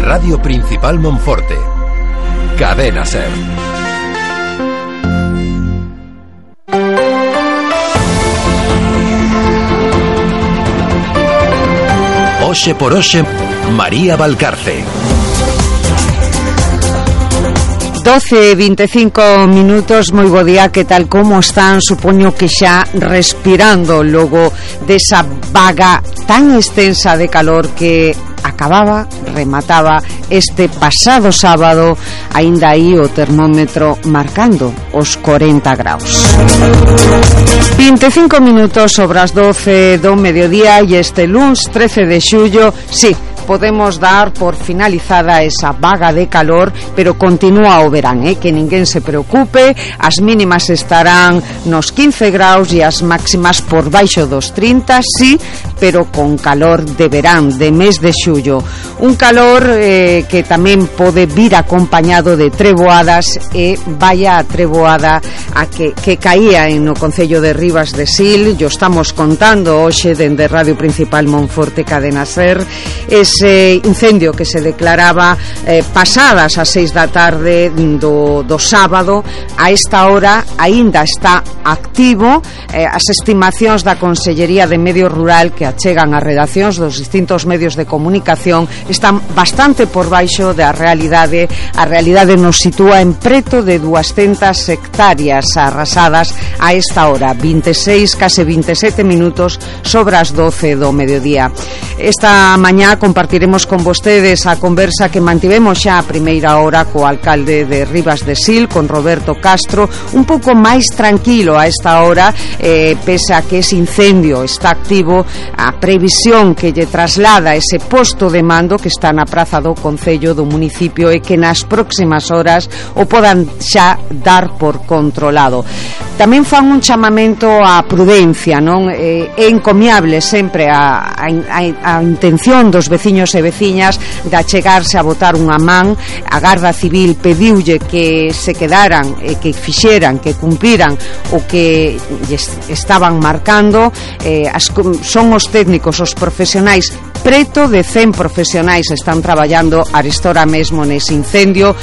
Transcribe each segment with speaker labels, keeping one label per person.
Speaker 1: Radio Principal Monforte. Cadena SER. Oxe por hoxe, María Valcarce.
Speaker 2: 12:25 minutos, moi bo día, que tal, como están? Supoño que xa respirando logo desa vaga tan extensa de calor que remataba este pasado sábado, aínda aí o termómetro marcando os 40 graus. 25 minutos sobre as 12 do mediodía e este luns 13 de xullo, sí, podemos dar por finalizada esa vaga de calor, pero continúa o verán, que ninguén se preocupe. As mínimas estarán nos 15 graus e as máximas por baixo dos 30, sí, pero con calor de verán, de mes de xullo. Un calor que tamén pode vir acompañado de treboadas, e vaya a treboada a que caía no concello de Ribas de Sil. Yo estamos contando hoxe dende Radio Principal Monforte, Cadena SER, ese incendio que se declaraba pasadas as 6 da tarde do sábado. A esta hora aínda está activo. As estimacións da Consellería de Medio Rural que achegan as redaccións dos distintos medios de comunicación están bastante por baixo da realidade. A realidade nos sitúa en preto de 200 hectáreas arrasadas a esta hora, 26, case 27 minutos sobre as 12 do mediodía. Esta mañá compartiremos con vostedes a conversa que mantivemos xa a primeira hora co alcalde de Ribas de Sil, con Roberto Castro, un pouco máis tranquilo a esta hora, pese a que ese incendio está activo. A previsión que lle traslada ese posto de mando que está na praza do concello do municipio é que nas próximas horas o podan xa dar por controlado. Tamén fan un chamamento á prudencia, non? É encomiable sempre a intención dos veciños e veciñas de achegarse a botar unha man. A Garda Civil pediulle que se quedaran e que fixeran, que cumpriran o que estaban marcando. Son os técnicos, os profesionais, preto de 100 profesionais están traballando arestora mesmo nese incendio.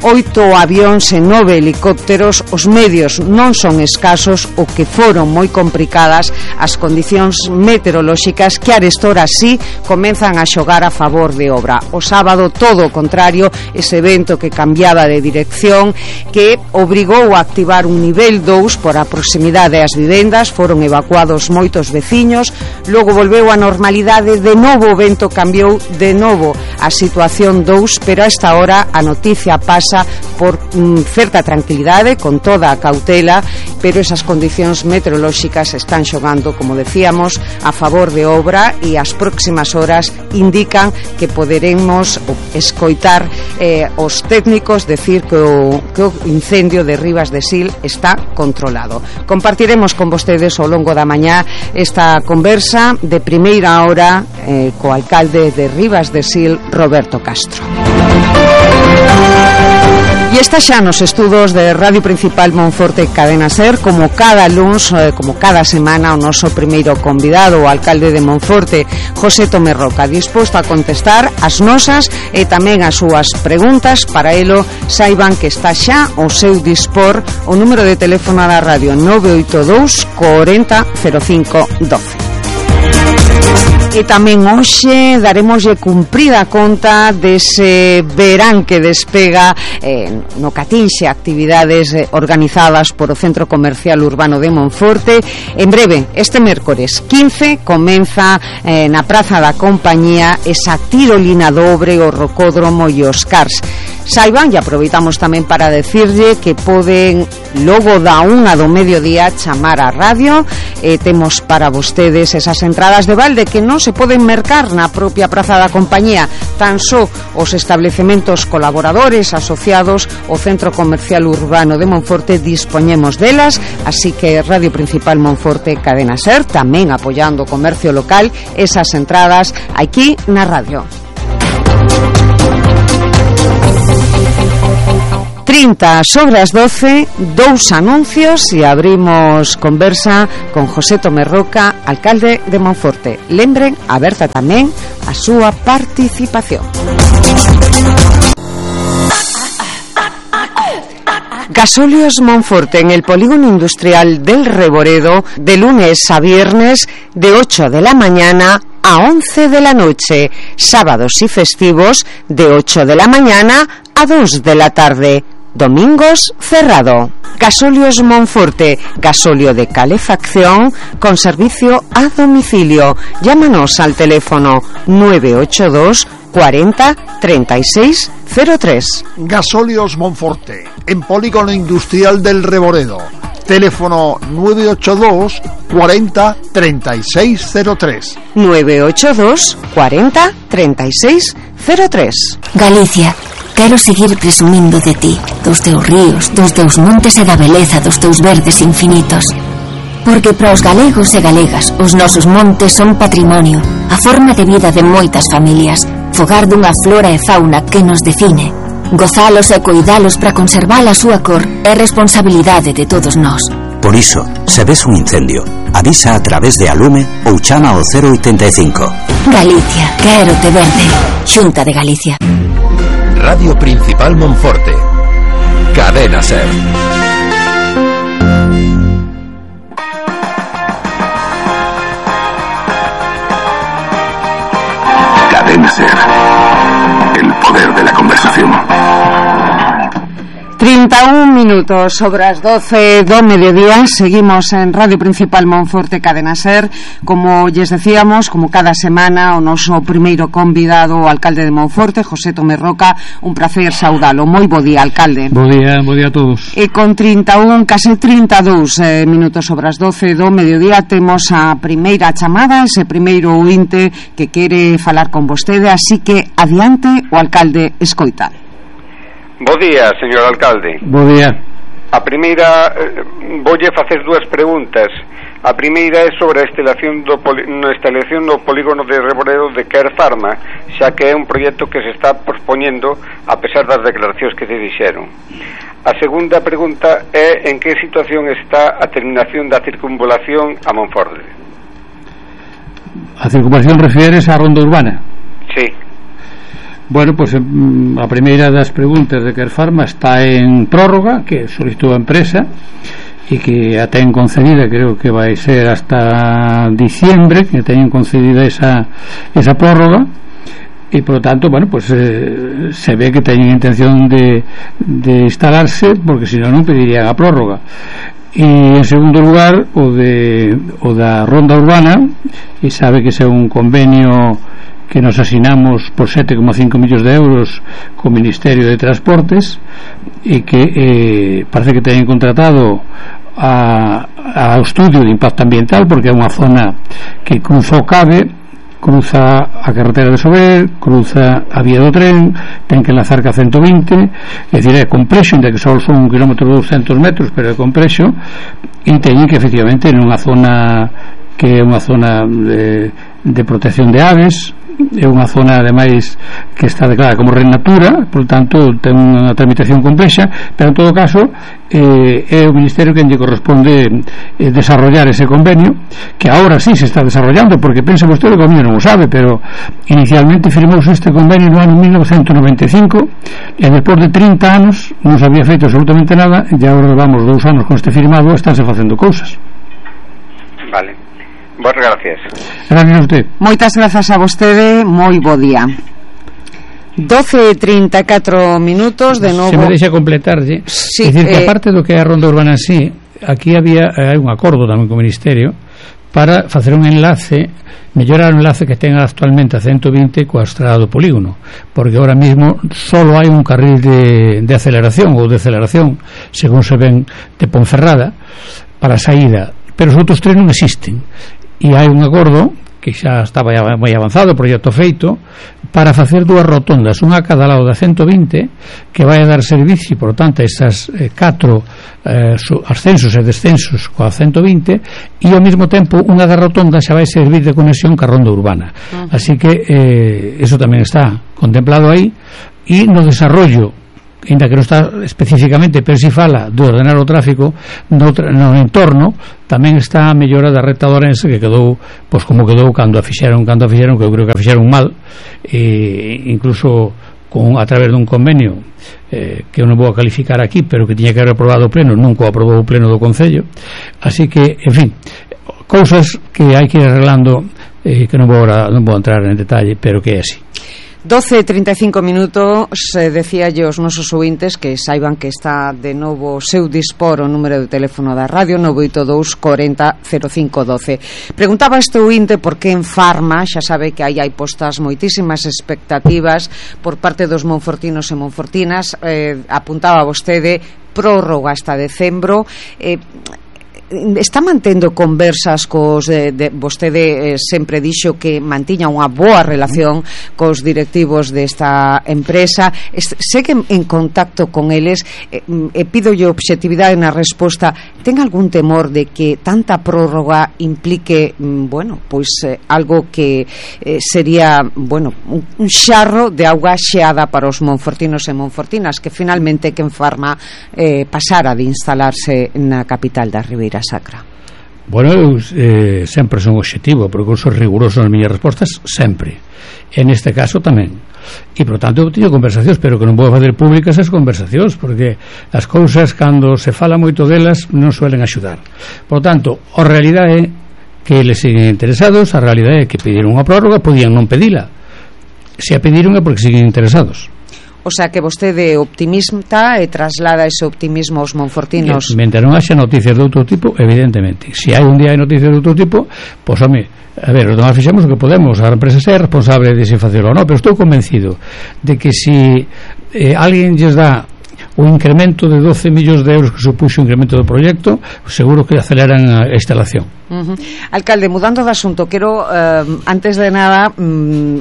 Speaker 2: 8 avións e 9 helicópteros. Os medios non son escasos, o que foron moi complicadas as condicións meteorolóxicas que arestora sí comenzan a xogar a favor de obra. O sábado todo o contrario, ese vento que cambiaba de dirección, que obrigou a activar un nivel 2 por a proximidade ás vivendas. Foron evacuados moitos veciños, logo volveu a normalidade, de novo o vento cambiou, de novo a situación 2, pero a esta hora a noticia pasa por certa tranquilidade, con toda a cautela, pero esas condicións meteorolóxicas están xogando, como decíamos, a favor de obra, e as próximas horas indican que poderemos escoitar os técnicos decir que o incendio de Ribas de Sil está controlado. Compartiremos con vostedes ao longo da mañá esta conversa de primeira hora co alcalde de Ribas de Sil, Roberto Castro. E está xa nos estudos de Radio Principal Monforte, Cadena SER, como cada luns, como cada semana, o noso primeiro convidado, o alcalde de Monforte, José Tomé Roca, disposto a contestar as nosas e tamén as súas preguntas. Para elo, saiban que está xa ao seu dispor o número de teléfono da radio 982 40 05 12. E tamén hoxe daremoslle cumprida conta dese verán que despega no Catinxe, actividades organizadas por o Centro Comercial Urbano de Monforte. En breve, este mércores 15, comeza na Praza da Compañía esa tirolina dobre, o rocódromo e os cars. Saiban, e aproveitamos tamén para decirlle que poden logo da 1 do mediodía chamar á radio. Temos para vostedes esas entradas de balde que non se poden mercar na propia Praza da Compañía, tan só os establecementos colaboradores asociados ao Centro Comercial Urbano de Monforte dispoñemos delas, así que Radio Principal Monforte, Cadena SER, tamén apoiando o comercio local, esas entradas aquí na radio. 30 sobre as 12, dous anuncios e abrimos conversa con José Tomé Roca, alcalde de Monforte. Lembren, aberta tamén a súa participación. Gasóleos Monforte en el polígono industrial del Reboredo, de lunes a viernes, de 8 de la mañana a 11 de la noche, sábados y festivos de 8 de la mañana a 2 de la tarde, domingos cerrado. Gasóleos Monforte, gasóleo de calefacción con servicio a domicilio. Llámanos al teléfono 982 40 36 03.
Speaker 3: Gasóleos Monforte, en polígono industrial del Reboredo. Teléfono 982 40 36 03.
Speaker 2: 982 40 36 03.
Speaker 4: Galicia, quero seguir presumindo de ti, dos teus ríos, dos teus montes e da beleza dos teus verdes infinitos. Porque para os galegos e galegas, os nosos montes son patrimonio, a forma de vida de moitas familias, fogar dunha flora e fauna que nos define. Gozalos e coidalos para conservar a súa cor é responsabilidade de todos nós.
Speaker 5: Por iso, se ves un incendio, avisa a través de Alume ou chama ao 085.
Speaker 4: Galicia, quero te verde. Xunta de Galicia.
Speaker 1: Radio Principal Monforte. Cadena SER.
Speaker 6: Cadena SER. El poder de la conversación.
Speaker 2: 31 minutos sobre as 12 do mediodía. Seguimos en Radio Principal Monforte, Cadena SER. Como lles decíamos, como cada semana, o noso primeiro convidado, o alcalde de Monforte, José Tomé Roca. Un placer saudalo. Moi bo día, alcalde.
Speaker 7: Bo día a todos.
Speaker 2: E con 31, case 32 minutos sobre as 12 do mediodía, temos a primeira chamada, ese primeiro ointe que quere falar con vostede, así que adiante, o alcalde escoita.
Speaker 8: Bo día, señor alcalde.
Speaker 7: Bo día.
Speaker 8: A primeira, voulle facer dúas preguntas. A primeira é sobre a instalación do polígono de Reboredo de Care Pharma, xa que é un proxecto que se está pospoñendo a pesar das declaracións que se dixeron. A segunda pregunta é en que situación está a terminación da circunvalación a Monforte.
Speaker 7: A circunvalación refieres á ronda urbana?
Speaker 8: Sí.
Speaker 7: Bueno, pues a primeira das preguntas de Care Pharma está en prórroga, que solicitou a empresa e que a ten concedida, creo que vai ser hasta diciembre, que teñen concedida esa prórroga, e por lo tanto, bueno, pues se ve que teñen intención de instalarse, porque se non pedirían a prórroga. E en segundo lugar, o da ronda urbana, e sabe que é un convenio que nos asinamos por 7,5 millóns de euros co Ministerio de Transportes, e que parece que teñen contratado ao estudio de impacto ambiental, porque é unha zona que cruza o CABE, cruza a carretera de Sober, cruza a vía do tren, ten que enlazar ca 120, é dicir, é complexo, ainda que só son 1 km 200 metros, pero é complexo, e teñen que efectivamente nunha zona que é unha zona de protección de aves, é unha zona ademais que está declarada como red natura, por tanto ten unha tramitación complexa, pero en todo caso é o Ministerio que lle corresponde desarrollar ese convenio, que ahora sí se está desarrollando, porque pensa vostede que o convenio non o sabe, pero inicialmente firmouse este convenio no ano 1995 e despois de 30 anos non se había feito absolutamente nada, e agora vamos 2 anos con este firmado, estánse facendo cousas.
Speaker 8: Vale. Boas gracias.
Speaker 7: Gracias a usted.
Speaker 2: Moitas grazas a vostede, moi bo día. 12:34 minutos de novo.
Speaker 7: Se me deixa completarlle,
Speaker 2: sí,
Speaker 7: é dicir que aparte do que é a ronda urbana en sí, aquí hai un acordo tamén co Ministerio para facer un enlace, mellorar o enlace que ten actualmente a 120 coa estrada do polígono, porque ahora mismo solo hai un carril de aceleración ou de aceleración, según se ven, de Ponferrada para a saída, pero os outros tres non existen, e hai un acordo que xa estaba moi avanzado, o proxecto feito, para facer 2 rotondas, unha a cada lado da 120, que vai a dar servicio, por tanto, a estas 4 ascensos e descensos coa 120, e ao mesmo tempo unha da rotonda xa vai servir de conexión ca ronda urbana. Así que eso tamén está contemplado aí, e no desarrollo, ainda que non está especificamente, pero si fala de ordenar o tráfico no entorno, tamén está a mellora da recta de Ourense, que quedou pois como quedou cando a fixeron, que eu creo que a fixeron mal, incluso a través dun convenio que eu non vou a calificar aquí, pero que tiña que haber aprobado o pleno, nunca o aprobou o pleno do Concello. Así que, en fin, cousas que hai que ir arreglando, que non vou entrar en detalle, pero que é así.
Speaker 2: 12:35 minutos. Decía yo aos nosos ouvintes que saiban que está de novo seu dispor o número de teléfono da radio 982 40 05 12. Preguntaba este ouvinte por que en Farma, xa sabe que aí hai postas moitísimas expectativas por parte dos monfortinos e monfortinas. Apuntaba vostede prórroga hasta decembro. Está mantendo conversas cos vostede sempre dixo que mantiña unha boa relación cos directivos desta empresa, segue en contacto con eles, pídolle objetividade na resposta. Ten algún temor de que tanta prórroga implique algo que sería un xarro de auga xeada para os monfortinos e monfortinas, que finalmente que en Farma pasara de instalarse na capital da Ribeira Sacra?
Speaker 7: Bueno, eu sempre son obxectivo, porque eu son riguroso nas miñas respostas sempre, e neste caso tamén, e por tanto eu teño conversacións, pero que non vou fazer públicas as conversacións, porque as cousas cando se fala moito delas non suelen axudar. Por tanto, a realidade é que eles siguen interesados, a realidade é que pediron unha prórroga, podían non pedila, se a pediron é porque siguen interesados.
Speaker 2: O sea que vostede é optimista e traslada ese optimismo aos monfortinos.
Speaker 7: Mentre non haxa noticias de outro tipo, evidentemente. Se hai un día hai noticias de outro tipo, pois, home, a ver, os demás fixemos o que podemos, a empresa é responsable de se facelo ou non, pero estou convencido de que se alguén lles dá o incremento de 12 millóns de euros que supuxo o incremento do proxecto, seguro que aceleran a instalación.
Speaker 2: Alcalde, mudando de asunto, quero antes de nada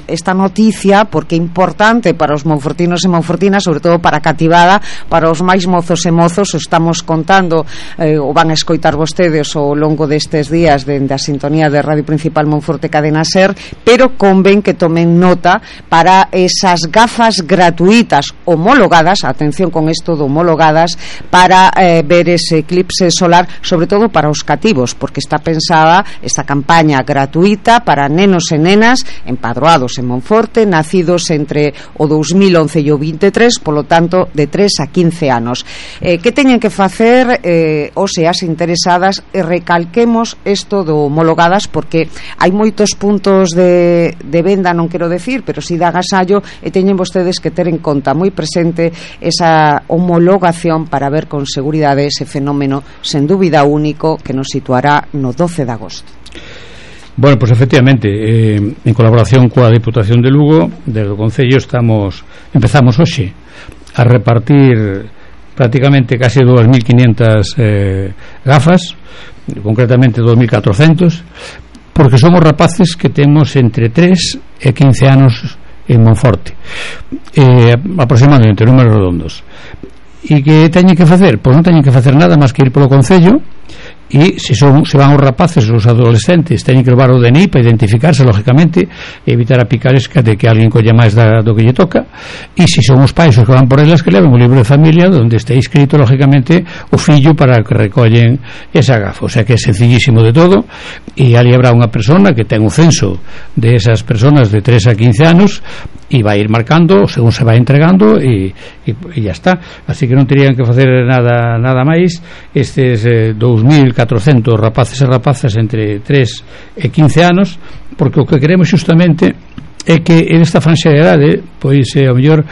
Speaker 2: esta noticia, porque é importante para os monfortinos e monfortinas, sobre todo para a cativada, para os máis mozos e mozos. Estamos contando, o van a escoitar vostedes ao longo destes días dende a sintonía de Radio Principal Monforte Cadena Ser, pero convén que tomen nota para esas gafas gratuitas homologadas, atención con isto de homologadas, para ver ese eclipse solar, sobre todo para os cativos, porque está pensada esta campaña gratuita para nenos e nenas empadroados en Monforte, nacidos entre o 2011 e o 23, polo tanto de 3 a 15 anos. Que teñen que facer os e as interesadas? Recalquemos isto do homologadas, porque hai moitos puntos de venda, non quero decir, pero si de agasallo, e teñen vostedes que ter en conta moi presente esa homologación para ver con seguridade ese fenómeno sen dúbida único que nos situará no 12 de agosto.
Speaker 7: Bueno, pues efectivamente, en colaboración coa Diputación de Lugo, desde o Concello empezamos hoxe a repartir prácticamente case 2.500 gafas, concretamente 2.400, porque somos rapaces que temos entre 3 e 15 anos en Monforte, aproximadamente, números redondos. E que teñen que facer? Pois non teñen que facer nada máis que ir polo Concello, e se van os rapaces, os adolescentes, teñen que levar o DNI para identificarse, lógicamente, e evitar a picaresca de que alguén colla máis do que lle toca. E se son os pais os que van por elas, que leven o libro de familia onde está inscrito, lógicamente, o fillo para que recollen esa gafa. O sea que é sencillísimo de todo, e ali habrá unha persona que ten un censo de esas personas de 3 a 15 anos e vai ir marcando según se vai entregando e ya está. Así que non terían que facer nada máis estes 2.400 rapaces e rapazas entre 3 e 15 anos, porque o que queremos justamente é que en esta franxa de idade, pois ao mellor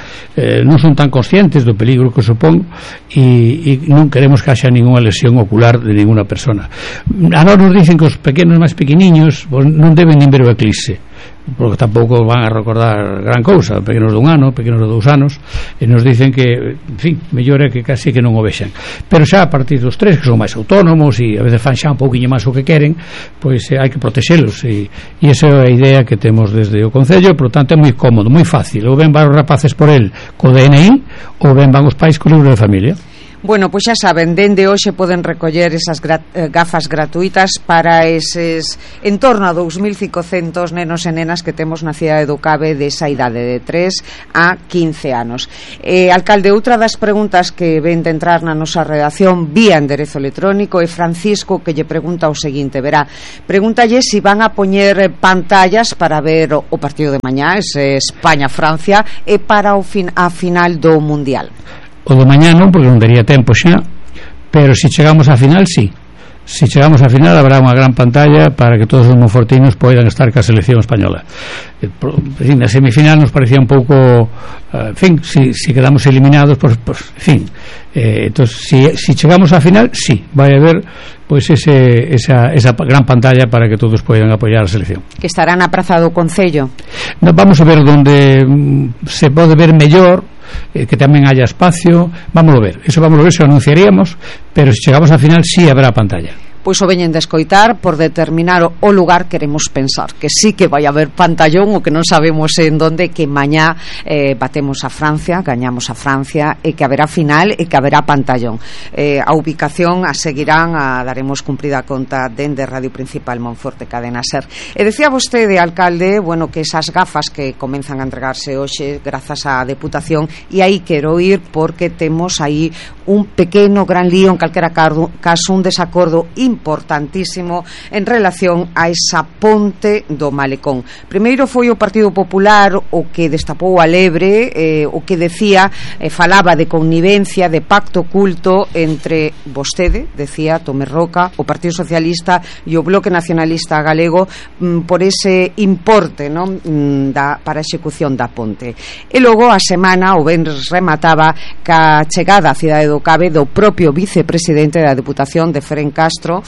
Speaker 7: non son tan conscientes do peligro que supón, e non queremos que haxa ninguna lesión ocular de ninguna persona. A nós nos dicen que os pequenos máis pequeniños non deben nin ver o eclipse, porque tampouco van a recordar gran cousa, pequenos dun ano, pequenos de 2 anos, e nos dicen que, en fin, mellor é que casi que non o vexan. Pero xa a partir dos 3, que son máis autónomos e a veces fan xa un pouquiño máis o que queren, pois hai que protexelos, e esa é a idea que temos desde o Concello. Por lo tanto é moi cómodo, moi fácil, ou ben van os rapaces por el co DNI, ou ben van os pais co libro de familia.
Speaker 2: Bueno, pois xa saben, dende hoxe poden recoller esas gafas gratuitas para eses en torno a 2.500 nenos e nenas que temos na cidade do Cabe desa idade de 3 a 15 anos. Alcalde, outra das preguntas que ven de entrar na nosa redacción vía enderezo electrónico é Francisco, que lle pregunta o seguinte, verá, pregúntalle se van a poñer pantallas para ver o partido de mañá, ese España-Francia, e para a final do Mundial.
Speaker 7: O do mañá non, porque non daría tempo xa, pero se chegamos á final, sí. Se chegamos á final habrá unha gran pantalla para que todos os monfortinos poidan estar ca selección española. Na semifinal nos parecía un pouco, en fin, si quedamos eliminados, pues en fin, entonces si chegamos á final, sí, vai haber pois esa gran pantalla para que todos poidan apoiar a selección.
Speaker 2: Que estará na Praza do Concello.
Speaker 7: Vamos a ver onde se pode ver mellor, que tamén haya espacio, vamos a ver, se lo anunciaríamos, pero se chegamos á final sí habrá pantalla.
Speaker 2: Pois o veñen de escoitar, por determinar o lugar queremos pensar que sí que vai haber pantallón, o que non sabemos en donde, que mañá batemos a Francia, gañamos a Francia, e que haberá final e que haberá pantallón. A ubicación a seguirán, a daremos cumprida conta dende Radio Principal Monforte Cadena Ser. E decía vostede, alcalde, bueno, que esas gafas que comenzan a entregarse hoxe grazas á Deputación, e aí quero ir porque temos aí un pequeno gran lío, en calquera caso un desacordo importantísimo en relación a esa ponte do Malecón. Primeiro foi o Partido Popular o que destapou a lebre, o que decía, falaba de connivencia, de pacto oculto entre vostede, decía Tomé Roca, o Partido Socialista e o Bloque Nacionalista Galego por ese importe, non, para a execución da ponte. E logo a semana o venres remataba ca chegada á cidade do Cabe do propio vicepresidente da Deputación de Feren Castro,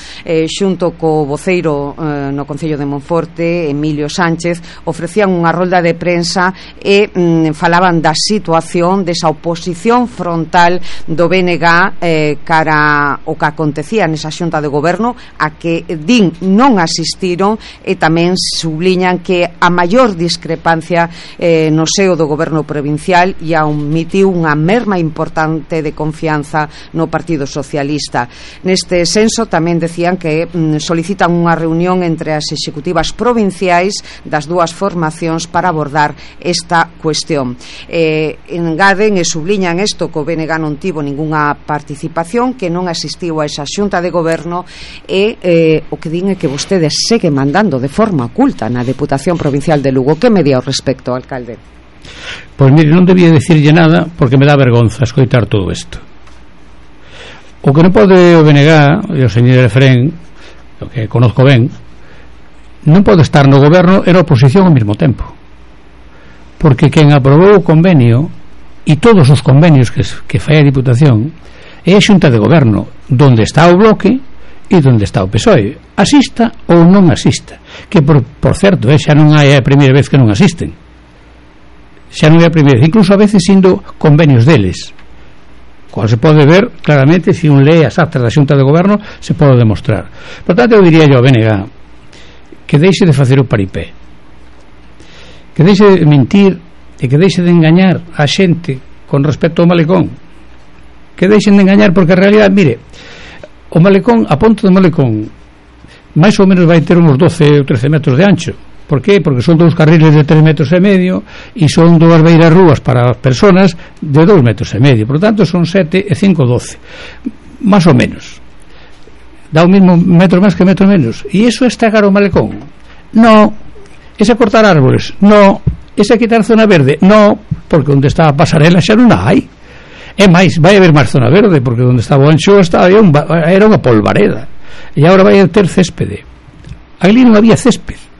Speaker 2: xunto co voceiro no Concello de Monforte, Emilio Sánchez, ofrecían unha rolda de prensa e falaban da situación desa oposición frontal do BNG cara o que acontecía nesa xunta de goberno, a que din non asistiron, e tamén subliñan que a maior discrepancia no seo do goberno provincial e admitiu unha merma importante de confianza no Partido Socialista. Neste senso tamén decían que solicitan unha reunión entre as executivas provinciais das dúas formacións para abordar esta cuestión. Engaden e subliñan isto, que o BNG non tivo ningunha participación, que non asistiu a esa xunta de goberno, e o que din é que vostede segue mandando de forma oculta na Deputación Provincial de Lugo. Que me di ao respecto, alcalde?
Speaker 7: Pois mire, non debía decirlle nada porque me dá vergonza escoitar todo isto. O que non pode o BNG e o señor Efrén, o que conozco ben, non pode estar no goberno e na oposición ao mesmo tempo, porque quen aprobou o convenio e todos os convenios que fai a Diputación é a xunta de goberno, donde está o Bloque e donde está o PSOE, asista ou non asista, que por certo, xa non é a primeira vez que non asisten, xa non é a primeira vez, incluso a veces indo convenios deles, cual se pode ver claramente, se un lee as actas da xunta de goberno se pode demostrar. Por tanto, eu diría yo ao BNG que deixe de facer o paripé, que deixe de mentir e que deixe de engañar a xente con respecto ao Malecón, que deixen de engañar, porque en realidad, mire, o Malecón, a ponte do Malecón máis ou menos vai ter uns 12 ou 13 metros de ancho. Por qué? Porque son 2 carriles de 3,5 metros e son 2 beiras rúas para as personas de 2,5 metros. Por tanto, son 7 e 5, 12. Más ou menos. Dá o mismo metro máis que metro menos. E iso é estragar o Malecón? No. Ese cortar árboles? No. Ese quitar zona verde? No. Porque onde está a pasarela xa non a hai. É máis, vai haber máis zona verde, porque onde estaba o ancho era unha polvareda. E agora vai a ter céspede. Ali non había césped.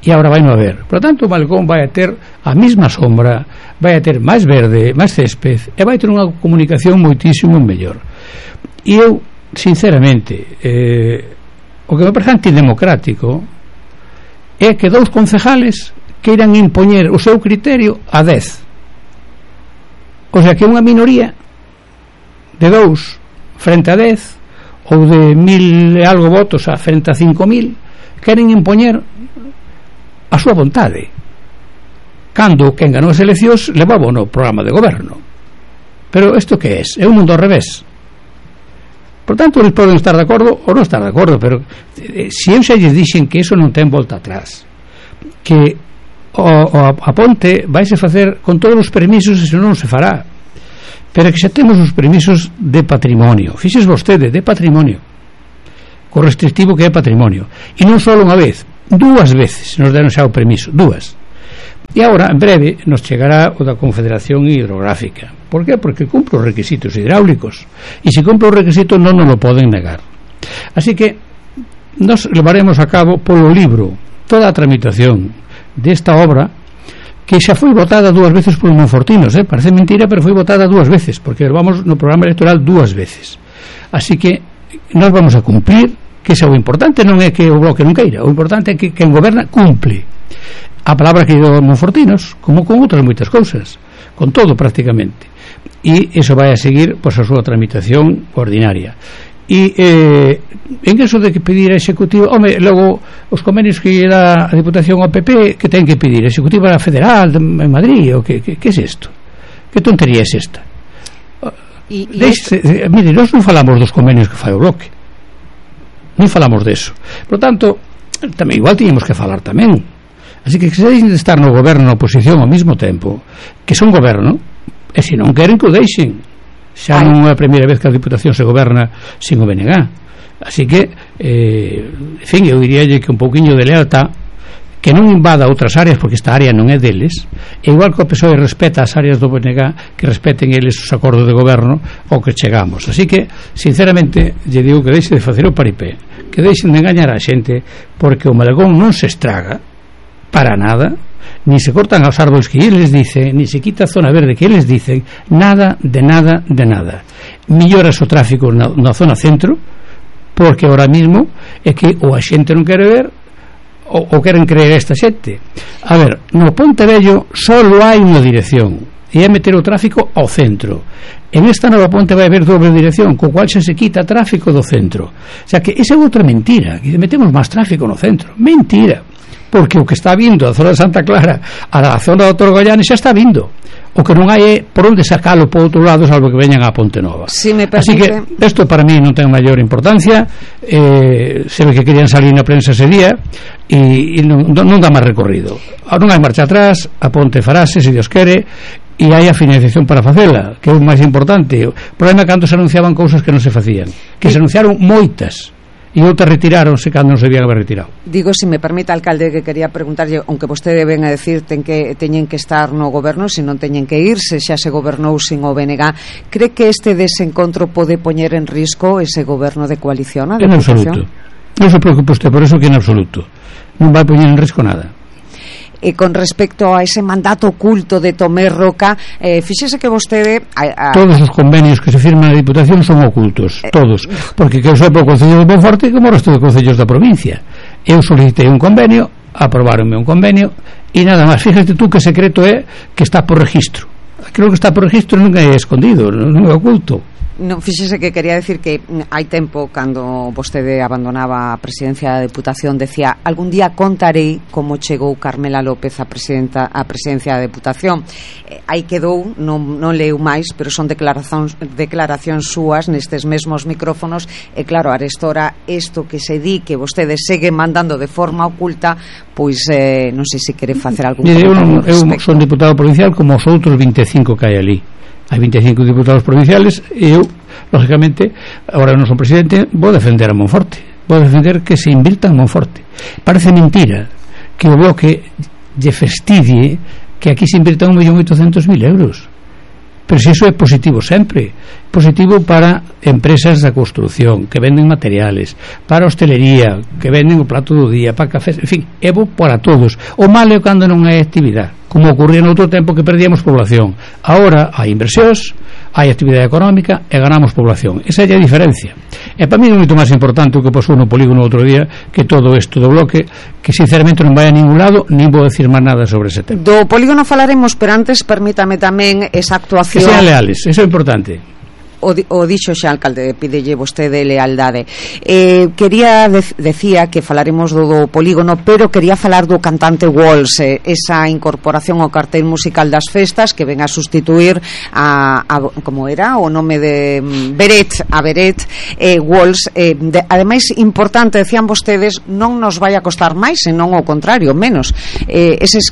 Speaker 7: E agora vai non haber. Por tanto, o Malecón vai a ter a mesma sombra, vai a ter máis verde, máis césped, e vai ter unha comunicación moitísimo mellor. E eu, sinceramente, o que me parece antidemocrático é que 2 concejales queiran impoñer o seu criterio a 10. O sea, que unha minoría de 2 frente a 10, ou de 1.000 e algo votos a frente a 5.000, queren impoñer a súa vontade, cando quen ganou as eleccións levaba no programa de goberno. Pero isto que é? É un mundo ao revés. Por tanto, eles poden estar de acordo ou non estar de acordo, pero se eu xa lles dixen que eso non ten volta atrás, que a ponte vaise facer con todos os permisos e se non se fará, pero que xa temos os permisos de patrimonio, fixes vostede, de patrimonio, co restrictivo que é patrimonio, e non só unha vez, 2 veces nos deron xa o permiso, 2. E agora, en breve, nos chegará o da Confederación Hidrográfica. Por qué? Porque cumpre os requisitos hidráulicos, e se cumpre os requisitos non nos lo poden negar. Así que nos levaremos a cabo polo libro toda a tramitación desta obra, que xa foi votada 2 veces polos monfortinos, parece mentira, pero foi votada 2 veces, porque vamos no programa electoral 2 veces. Así que nós vamos a cumplir, que xa o importante non é que o Bloque non queira, o importante é que quen goberna cumple a palabra que dio monfortinos, como con outras moitas cousas, con todo prácticamente, e iso vai a seguir pois a súa tramitación ordinaria. E en caso de que pedir a Executivo, logo os convenios que dá a Diputación ao PP, que ten que pedir a Executiva Federal en Madrid, ou que é isto? Que tontería é esta? Mire, nós non falamos dos convenios que fai o Bloque, non falamos deso. Por tanto, tamén igual tiñemos que falar tamén. Así que se deixen de estar no goberno e na oposición ao mesmo tempo, que son goberno, e se non queren que o deixen. Xa non é a primeira vez que a Diputación se goberna sin o BNG. Así que en fin, eu diríalle que un pouquiño de lealtad, que non invada outras áreas, porque esta área non é deles, e igual que o PSOE respeta as áreas do BNG, que respeten eles os acordos de goberno ao que chegamos. Así que sinceramente lle digo que deixe de facer o paripé, que deixen de engañar a xente, porque o Malagón non se estraga para nada, ni se cortan os árboles que eles dicen, ni se quita a zona verde que eles dicen, nada de nada de nada. Melloras o tráfico na zona centro, porque ahora mismo é que ou a xente non quere ver ou queren creer esta xente. A ver, no Pontevello só hai unha dirección, e é meter o tráfico ao centro. En esta nova ponte vai haber doble dirección, co cual xa se quita tráfico do centro. O sea que esa é outra mentira, que metemos máis tráfico no centro. Mentira, porque o que está vindo a zona de Santa Clara a zona do Torgollane xa está vindo. O que non hai é por onde sacalo por outro lado, salvo que veñan a Ponte Nova.
Speaker 2: Si me permite...
Speaker 7: Así que isto para mí non ten maior importancia. Se ve que querían salir na prensa ese día e non dá máis recorrido. Non hai marcha atrás, a ponte farase, se Dios quere, e hai a financiación para facela, que é o máis importante. O problema é cando se anunciaban cousas que non se facían, que se anunciaron moitas e outras retiráronse cando non se debían haber retirado.
Speaker 2: Digo, se me permite, alcalde, que quería preguntarlle, aunque vostede ven a decir teñen que estar no goberno, se non teñen que irse, xa se gobernou sin o BNG, cree que este desencontro pode poñer en risco ese goberno de coalición?
Speaker 7: En absoluto, non se preocupe usted por eso, que en absoluto non vai poñer en risco nada.
Speaker 2: E con respecto a ese mandato oculto de Tomé Roca, fíxese que vostede
Speaker 7: todos os convenios que se firman na Diputación son ocultos, todos, porque que eu saiba o Concello de Monforte como o resto de concellos da provincia. Eu solicitei un convenio, aprobáronme un convenio e nada máis. Fíjate tú que secreto é que está por registro. Creo que está por registro, nunca é escondido, non é oculto.
Speaker 2: Non, fíxese que quería decir que hai tempo, cando vostede abandonaba a presidencia da Deputación, decía: algún día contarei como chegou Carmela López a presidencia da Deputación. Aí quedou, non leu máis, pero son declaracións súas nestes mesmos micrófonos, e claro, arestora isto que se di que vostede segue mandando de forma oculta, pois non sei se quere facer algún comentario.
Speaker 7: Eu son diputado provincial como os outros 25 que hai ali. Hai 25 diputados provinciales e eu, lógicamente, agora non son presidente, vou defender a Monforte, vou defender que se invirta en Monforte. Parece mentira que o Bloque lle fastidie que aquí se invirta 1.800.000 euros, pero se iso é positivo sempre, positivo para empresas da construción que venden materiales, para a hostelería que venden o plato do día, para cafés, en fin, é bo para todos. O malo é cando non hai actividade, como ocorría no outro tempo que perdíamos población. Ahora hai inversións, hai actividade económica e ganamos población. Esa é a diferencia. E para mí é moito máis importante o que pasou no polígono outro día que todo isto do Bloque, que sinceramente non vai a ningún lado, nin vou decir máis nada sobre ese tema.
Speaker 2: Do polígono falaremos, pero antes permítame tamén esa actuación.
Speaker 7: Que sean leales, eso é importante.
Speaker 2: o dixo xa alcalde, pídelle vostede lealdade. Decía que falaremos do polígono, pero quería falar do cantante Walls, esa incorporación ao cartel musical das festas que ven a sustituir a como era o nome de Beret, Walls. Ademais, importante, decían vostedes, non nos vai a costar máis, senón ao contrario, menos. Eses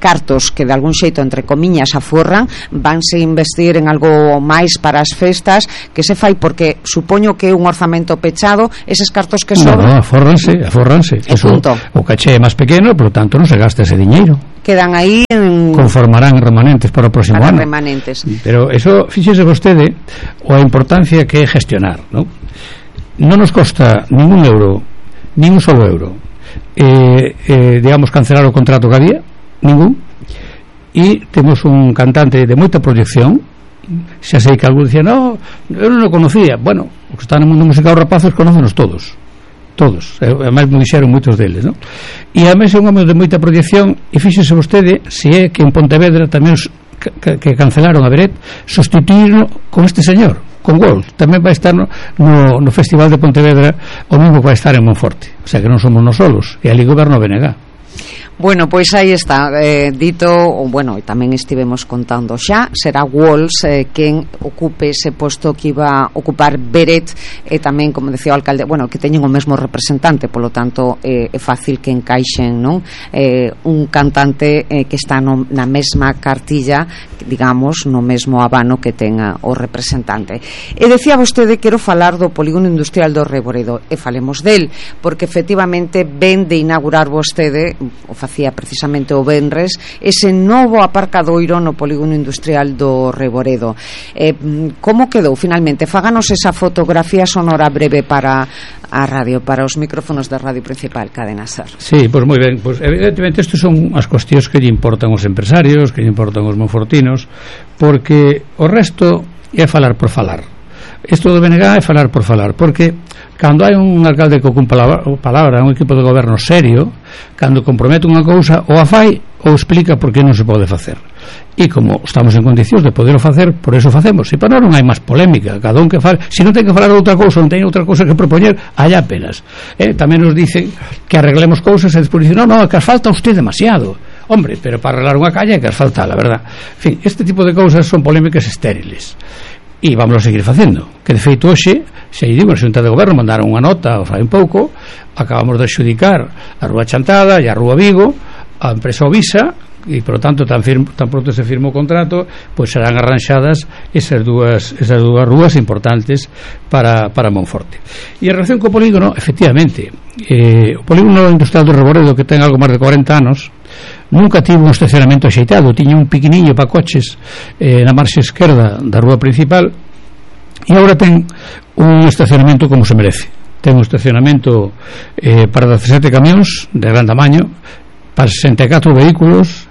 Speaker 2: cartos que de algún xeito, entre comiñas, aforran, vanse investir en algo máis para as festas, que se fai porque supoño que é un orzamento pechado, eses cartos que sobran...
Speaker 7: No, aforranse. O caché é máis pequeno, por lo tanto non se gasta ese diñeiro.
Speaker 2: Quedan aí
Speaker 7: conformarán remanentes para o próximo ano.
Speaker 2: Remanentes.
Speaker 7: Pero eso, fíxese vostede a importancia que é gestionar, non? Non nos costa ningún euro, nin un solo euro, digamos, cancelar o contrato que había, ningún. E temos un cantante de moita proyección. Xa sei que algún dicía, no, eu non o conocía. Bueno, os que están no mundo musical, os rapazos, conócenos todos, ademais me dixeron moitos deles, non? E ademais é un home de moita proyección. E fíxese vostede se é que en Pontevedra tamén que cancelaron a Beret, sustituirlo con este señor, con Wolf. Tamén vai estar no Festival de Pontevedra, o mesmo que vai estar en Monforte. O sea que non somos nos solos, e ali goberno BNG.
Speaker 2: Bueno, pois aí está, dito, bueno, e tamén estivemos contando xa, será Walls quen ocupe ese posto que iba a ocupar Beret, e tamén, como decía o alcalde, bueno, que teñen o mesmo representante, polo tanto é fácil que encaixen, non? Un cantante que está na mesma cartilla, digamos, no mesmo abano que tenga o representante. E decía vostede, quero falar do polígono industrial do Reboredo, e falemos del, porque efectivamente ven de inaugurar vostede, o facía precisamente o venres, ese novo aparcadoiro no polígono industrial do Reboredo. Como quedou finalmente? Fáganos esa fotografía sonora breve para a radio, para os micrófonos da radio principal, Cadena Ser.
Speaker 7: Sí, pois moi ben, pois evidentemente isto son as cuestións que lle importan os empresarios, que lle importan os monfortinos, porque o resto é falar por falar. Isto do BNG é falar por falar, porque cando hai un alcalde que ocupa a palabra, un equipo de goberno serio, cando compromete unha cousa, ou a fai ou explica por que non se pode facer. E como estamos en condicións de poderlo facer, por eso facemos. E para non hai máis polémica, cada un que fale, se non ten que falar de outra cousa, non ten outra cousa que propoñer, hai apenas. Tamén nos dicen que arreglemos cousas e despois dicen, no, que as falta usted demasiado. Hombre, pero para arreglar unha calle que as falta, la verdad. En fin, este tipo de cousas son polémicas estériles. E vamos a seguir facendo, que de feito hoxe, se digo, na Xunta de Goberno mandaron unha nota fai un pouco, acabamos de adxudicar a Rúa Chantada e a Rúa Vigo a empresa Ovisa, e por lo tanto tan pronto se firma o contrato, pois serán arranxadas esas dúas rúas importantes para Monforte. E en relación co polígono, efectivamente, o polígono industrial do Reboredo, que ten algo máis de 40 anos, nunca tivo un estacionamento axeitado, tiña un piquiniño para coches na marxa esquerda da rúa principal, e agora ten un estacionamento como se merece. Ten un estacionamento para 17 camións de gran tamaño, para 64 vehículos,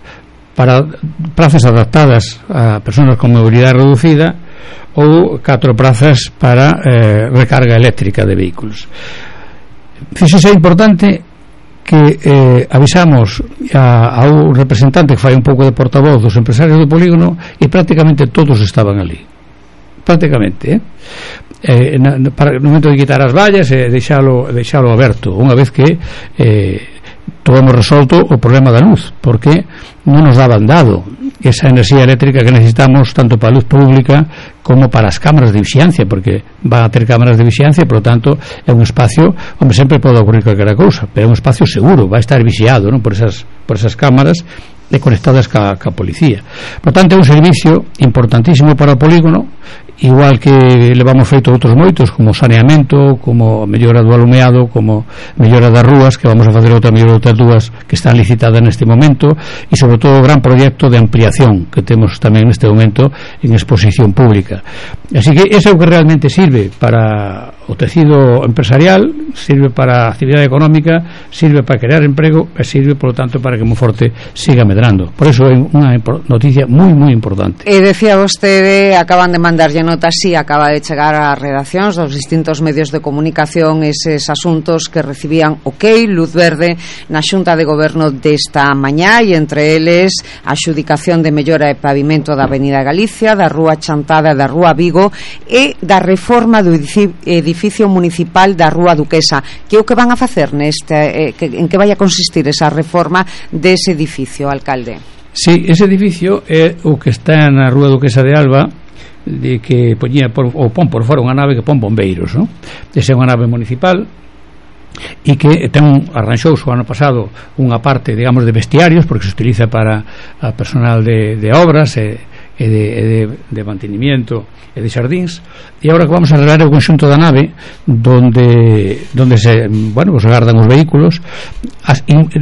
Speaker 7: para prazas adaptadas a personas con mobilidade reducida, ou 4 prazas para recarga eléctrica de vehículos. Fíxese, é importante que avisamos a un representante que fai un pouco de portavoz dos empresarios do polígono, e prácticamente todos estaban ali, prácticamente, para no momento de quitar as vallas e deixalo aberto, unha vez que hemos resolto o problema da luz, porque non nos daban dado esa enerxía eléctrica que necesitamos tanto para a luz pública como para as cámaras de vixiancia, porque van a ter cámaras de vixiancia, por lo tanto é un espacio onde sempre pode ocurrir calquera cousa, pero é un espacio seguro, vai estar vixiado, non, por esas cámaras e conectadas ca policía. Por tanto, é un servicio importantísimo para o polígono, igual que levamos feito outros moitos, como saneamento, como mellora do alumeado, como mellora das rúas, que vamos a facer outra mellora de outras dúas que están licitadas neste momento, e sobre todo o gran proxecto de ampliación que temos tamén neste momento en exposición pública. Así que ese é o que realmente sirve para o tecido empresarial, sirve para a actividade económica, sirve para crear emprego e sirve, por lo tanto, para que Monforte siga medrando. Por eso é unha noticia moi, moi importante.
Speaker 2: E decía vostede, acaban de mandarlle notas, sí, acaba de chegar ás redaccións dos distintos medios de comunicación eses asuntos que recibían luz verde na Xunta de Goberno desta mañá, e entre eles a adxudicación de mellora e pavimento da Avenida Galicia, da Rúa Chantada e da Rúa Vigo, e da reforma do edificio municipal da Rúa Duquesa. Que é o que van a facer neste, en que vai a consistir esa reforma dese edificio, alcalde?
Speaker 7: Sí, ese edificio é o que está na Rúa Duquesa de Alba, de que poñía pon por fora unha nave que pon bombeiros, non? Esa é unha nave municipal e que arranxou o ano pasado unha parte, digamos, de vestiarios, porque se utiliza para a personal de obras e de mantenimiento e de xardíns, e agora que vamos a arreglar o conxunto da nave donde se, bueno, pues agardan os vehículos,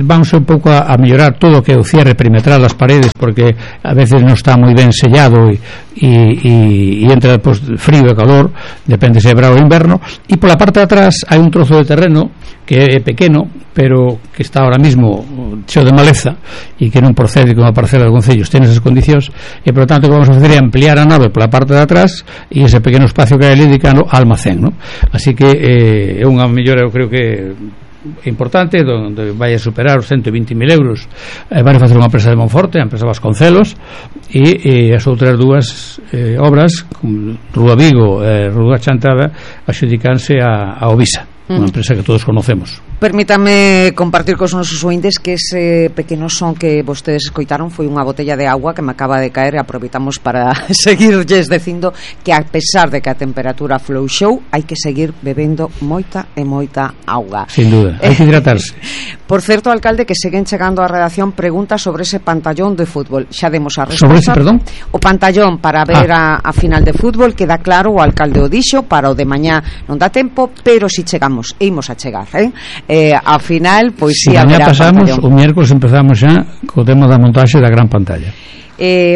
Speaker 7: vamos un pouco a mellorar todo o que é o cierre perimetral das paredes, porque a veces non está moi ben sellado e entra pues, frío e calor, depende se é verao ou inverno, e pola parte de atrás hai un trozo de terreno que é pequeno, pero que está ahora mismo cheo de maleza e que non procede con a parcela do Concello, ten esas condicións, e por tanto que vamos a facer é ampliar a nave pola parte de atrás e ese pequeno espacio que hai dedicado ao almacén, ¿no? Así que é unha mellora, eu creo que importante, donde vai a superar os 120.000 euros. Vai a facer unha empresa de Monforte, a empresa Vasconcelos, e as outras dúas obras, como Rúa Vigo e Rúa Chantada, adxudicanse a Ovisa, unha empresa que todos conocemos.
Speaker 2: Permítame compartir cos nosos ointes que ese pequeno son que vostedes escoitaron foi unha botella de agua que me acaba de caer, e aproveitamos para seguirlles dicindo que a pesar de que a temperatura floxou, hai que seguir bebendo moita e moita auga.
Speaker 7: Sin duda, hai que hidratarse.
Speaker 2: Por certo, alcalde, que seguen chegando á redacción preguntas sobre ese pantallón de fútbol. Xa demos a resposta.
Speaker 7: Sobre ese, perdón?
Speaker 2: O pantallón para ver a final de fútbol, queda claro, o alcalde o dixo, para o de mañá non dá tempo, pero si chegamos, e imos a chegar, ao final, pois si haberá
Speaker 7: pasamos,
Speaker 2: pantallón.
Speaker 7: O miércoles empezamos xa co tema da montaxe da gran pantalla.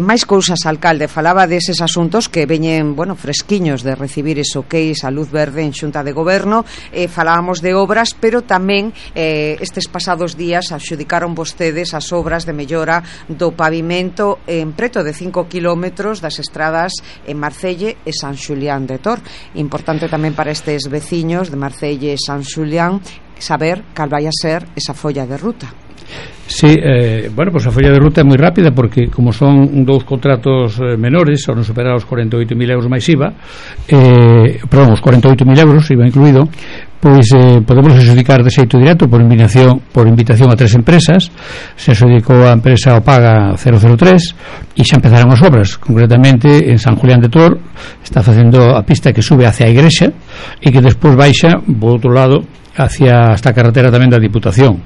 Speaker 2: Máis cousas, alcalde, falaba deses asuntos que veñen, bueno, fresquiños de recibir eso que é a luz verde en Xunta de Goberno, falábamos de obras, pero tamén estes pasados días adxudicaron vostedes as obras de mellora do pavimento en preto de 5 kilómetros das estradas en Marcelle e San Xulián de Tor. Importante tamén para estes veciños de Marcelle e San Xulián saber cal vai a ser esa folla de ruta.
Speaker 7: Sí, bueno, pues a folla de ruta é moi rápida, porque como son dous contratos menores, son superar os 48.000 euros máis IVA, perdón, os 48.000 euros IVA incluído, pois podemos adxudicar de xeito directo por invitación a 3 empresas. Se adxudicou a empresa Opaga 003 e xa empezaron as obras, concretamente en San Julián de Tor está facendo a pista que sube hacia a igrexa e que despois baixa por outro lado hacia esta carretera tamén da Diputación.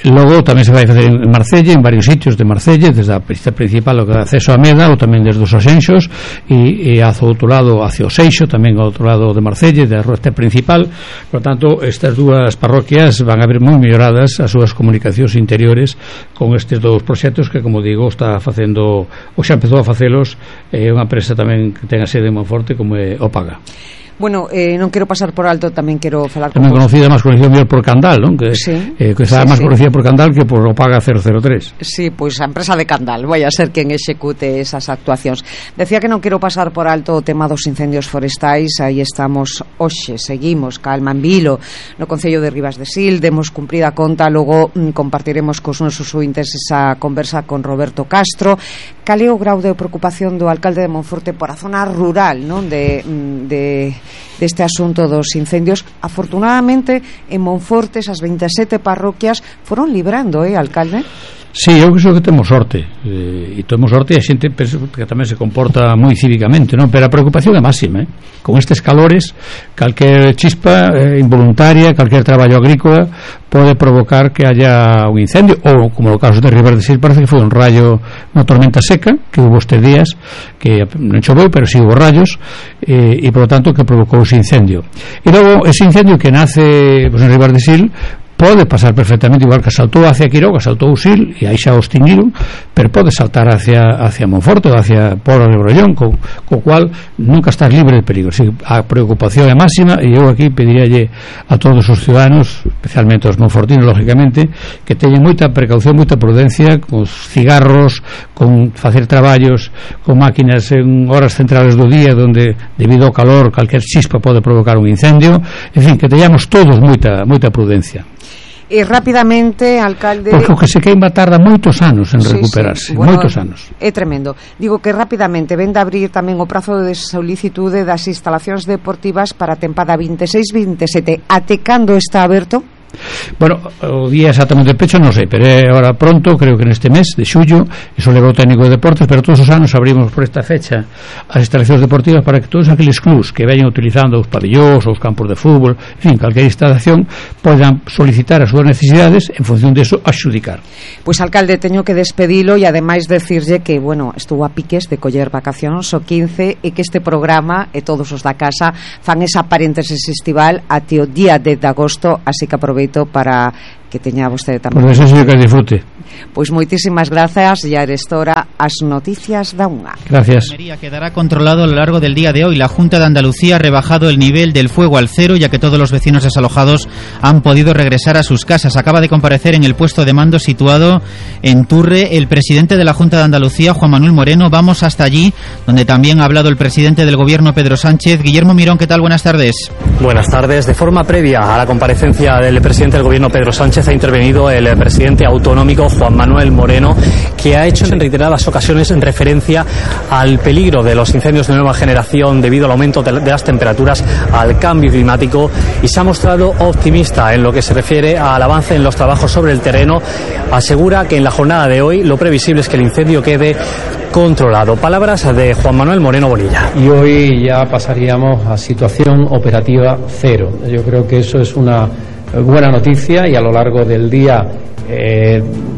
Speaker 7: Logo tamén se vai facer en Marcelle, en varios sitios de Marcelle, desde a pista principal ao acceso a Meda, ou tamén desde os Asenxos e hacia o outro lado, hacia o Seixo, tamén ao outro lado de Marcelle, da ruta principal. Por tanto, estas dúas parroquias van a ver moi melloradas as súas comunicacións interiores con estes dous proxectos que, como digo, está facendo, ou xa empezou a facelos, unha empresa tamén que ten a sede en Monforte como é Opaga.
Speaker 2: Bueno, non quero pasar por alto, tamén quero falar
Speaker 7: tamén conocida, máis conocida por Candal, non? Que
Speaker 2: sí,
Speaker 7: está máis conocida por Candal que por Opaga 003.
Speaker 2: Sí, pois a empresa de Candal vai a ser quen execute esas actuacións. Decía que non quero pasar por alto o tema dos incendios forestais. Aí estamos hoxe, seguimos calma en Vilo, no Concello de Ribas de Sil, demos cumprida conta, logo compartiremos cos nosos ointes esa conversa con Roberto Castro. Cal é o grau de preocupación do alcalde de Monforte por a zona rural, non? Deste asunto dos incendios. Afortunadamente en Monforte esas 27 parroquias foron librando, alcalde?
Speaker 7: Sí, eu creo que temos sorte, e temos sorte, e a xente penso que tamén se comporta moi cívicamente, non? Pero a preocupación é máxima, con estes calores, calquer chispa involuntaria, calquer traballo agrícola pode provocar que haya un incendio, ou como no caso de Ribas de Sil, parece que foi un rayo, unha tormenta seca que hubo estes días, que non choveu, pero si hubo rayos, e por lo tanto que provocou ese incendio. E logo ese incendio que nace pues, en Ribas de Sil, pode pasar perfectamente, igual que saltou hacia Quiroga, saltou o Sil e aí xa o extinguiron, pero pode saltar hacia Monforte ou hacia Pobos de Brollón, co cual nunca estás libre de peligro. Así, a preocupación é máxima, e eu aquí pediríalle a todos os ciudadanos, especialmente os monfortinos, lógicamente, que teñen moita precaución, moita prudencia con cigarros, con facer traballos con máquinas en horas centrales do día donde, debido ao calor, calquer chispa pode provocar un incendio. En fin, que teñamos todos moita prudencia.
Speaker 2: E rapidamente, alcalde...
Speaker 7: Porque o que se queima tarda moitos anos en recuperarse,
Speaker 2: bueno,
Speaker 7: moitos anos.
Speaker 2: É tremendo. Digo que rapidamente ven de abrir tamén o prazo de solicitude das instalacións deportivas para a tempada 26-27. Até cando está aberto?
Speaker 7: Bueno, o día exactamente de pecho non sei, pero é ahora pronto, creo que neste mes de xullo, iso leva o técnico de deportes, pero todos os anos abrimos por esta fecha as instalacións deportivas para que todos aqueles clubs que veñan utilizando os pabellóns, os campos de fútbol, en fin, calquer instalación, podan solicitar as súas necesidades, en función de eso, axudicar.
Speaker 2: Pois, alcalde, teño que despedilo e ademais decirlle que, bueno, estuvo a piques de coller vacacións o 15 e que este programa e todos os da casa fan esa paréntesis estival até o día 10 de agosto, así que aproveito para que teña vostede tamén.
Speaker 7: Por eso que disfrute.
Speaker 2: Pois moitísimas grazas, e arestora as noticias da unha.
Speaker 7: Gracias.
Speaker 9: Quedará controlado a lo largo del día de hoy. La Junta de Andalucía ha rebajado el nivel del fuego al cero, ya que todos los vecinos desalojados han podido regresar a sus casas. Acaba de comparecer en el puesto de mando situado en Turre el presidente de la Junta de Andalucía, Juan Manuel Moreno. Vamos hasta allí, donde también ha hablado el presidente del Gobierno, Pedro Sánchez. Guillermo Mirón, ¿qué tal? Buenas tardes.
Speaker 10: Buenas tardes. De forma previa a la comparecencia del presidente del Gobierno, Pedro Sánchez, ha intervenido el presidente autonómico, Juan Manuel Moreno, que ha hecho en reiteradas ocasiones en referencia al peligro de los incendios de nueva generación debido al aumento de las temperaturas, al cambio climático, y se ha mostrado optimista en lo que se refiere al avance en los trabajos sobre el terreno. Asegura que en la jornada de hoy lo previsible es que el incendio quede controlado. Palabras de Juan Manuel Moreno Bonilla.
Speaker 11: Y hoy ya pasaríamos a situación operativa cero. Yo creo que eso es una buena noticia, y a lo largo del día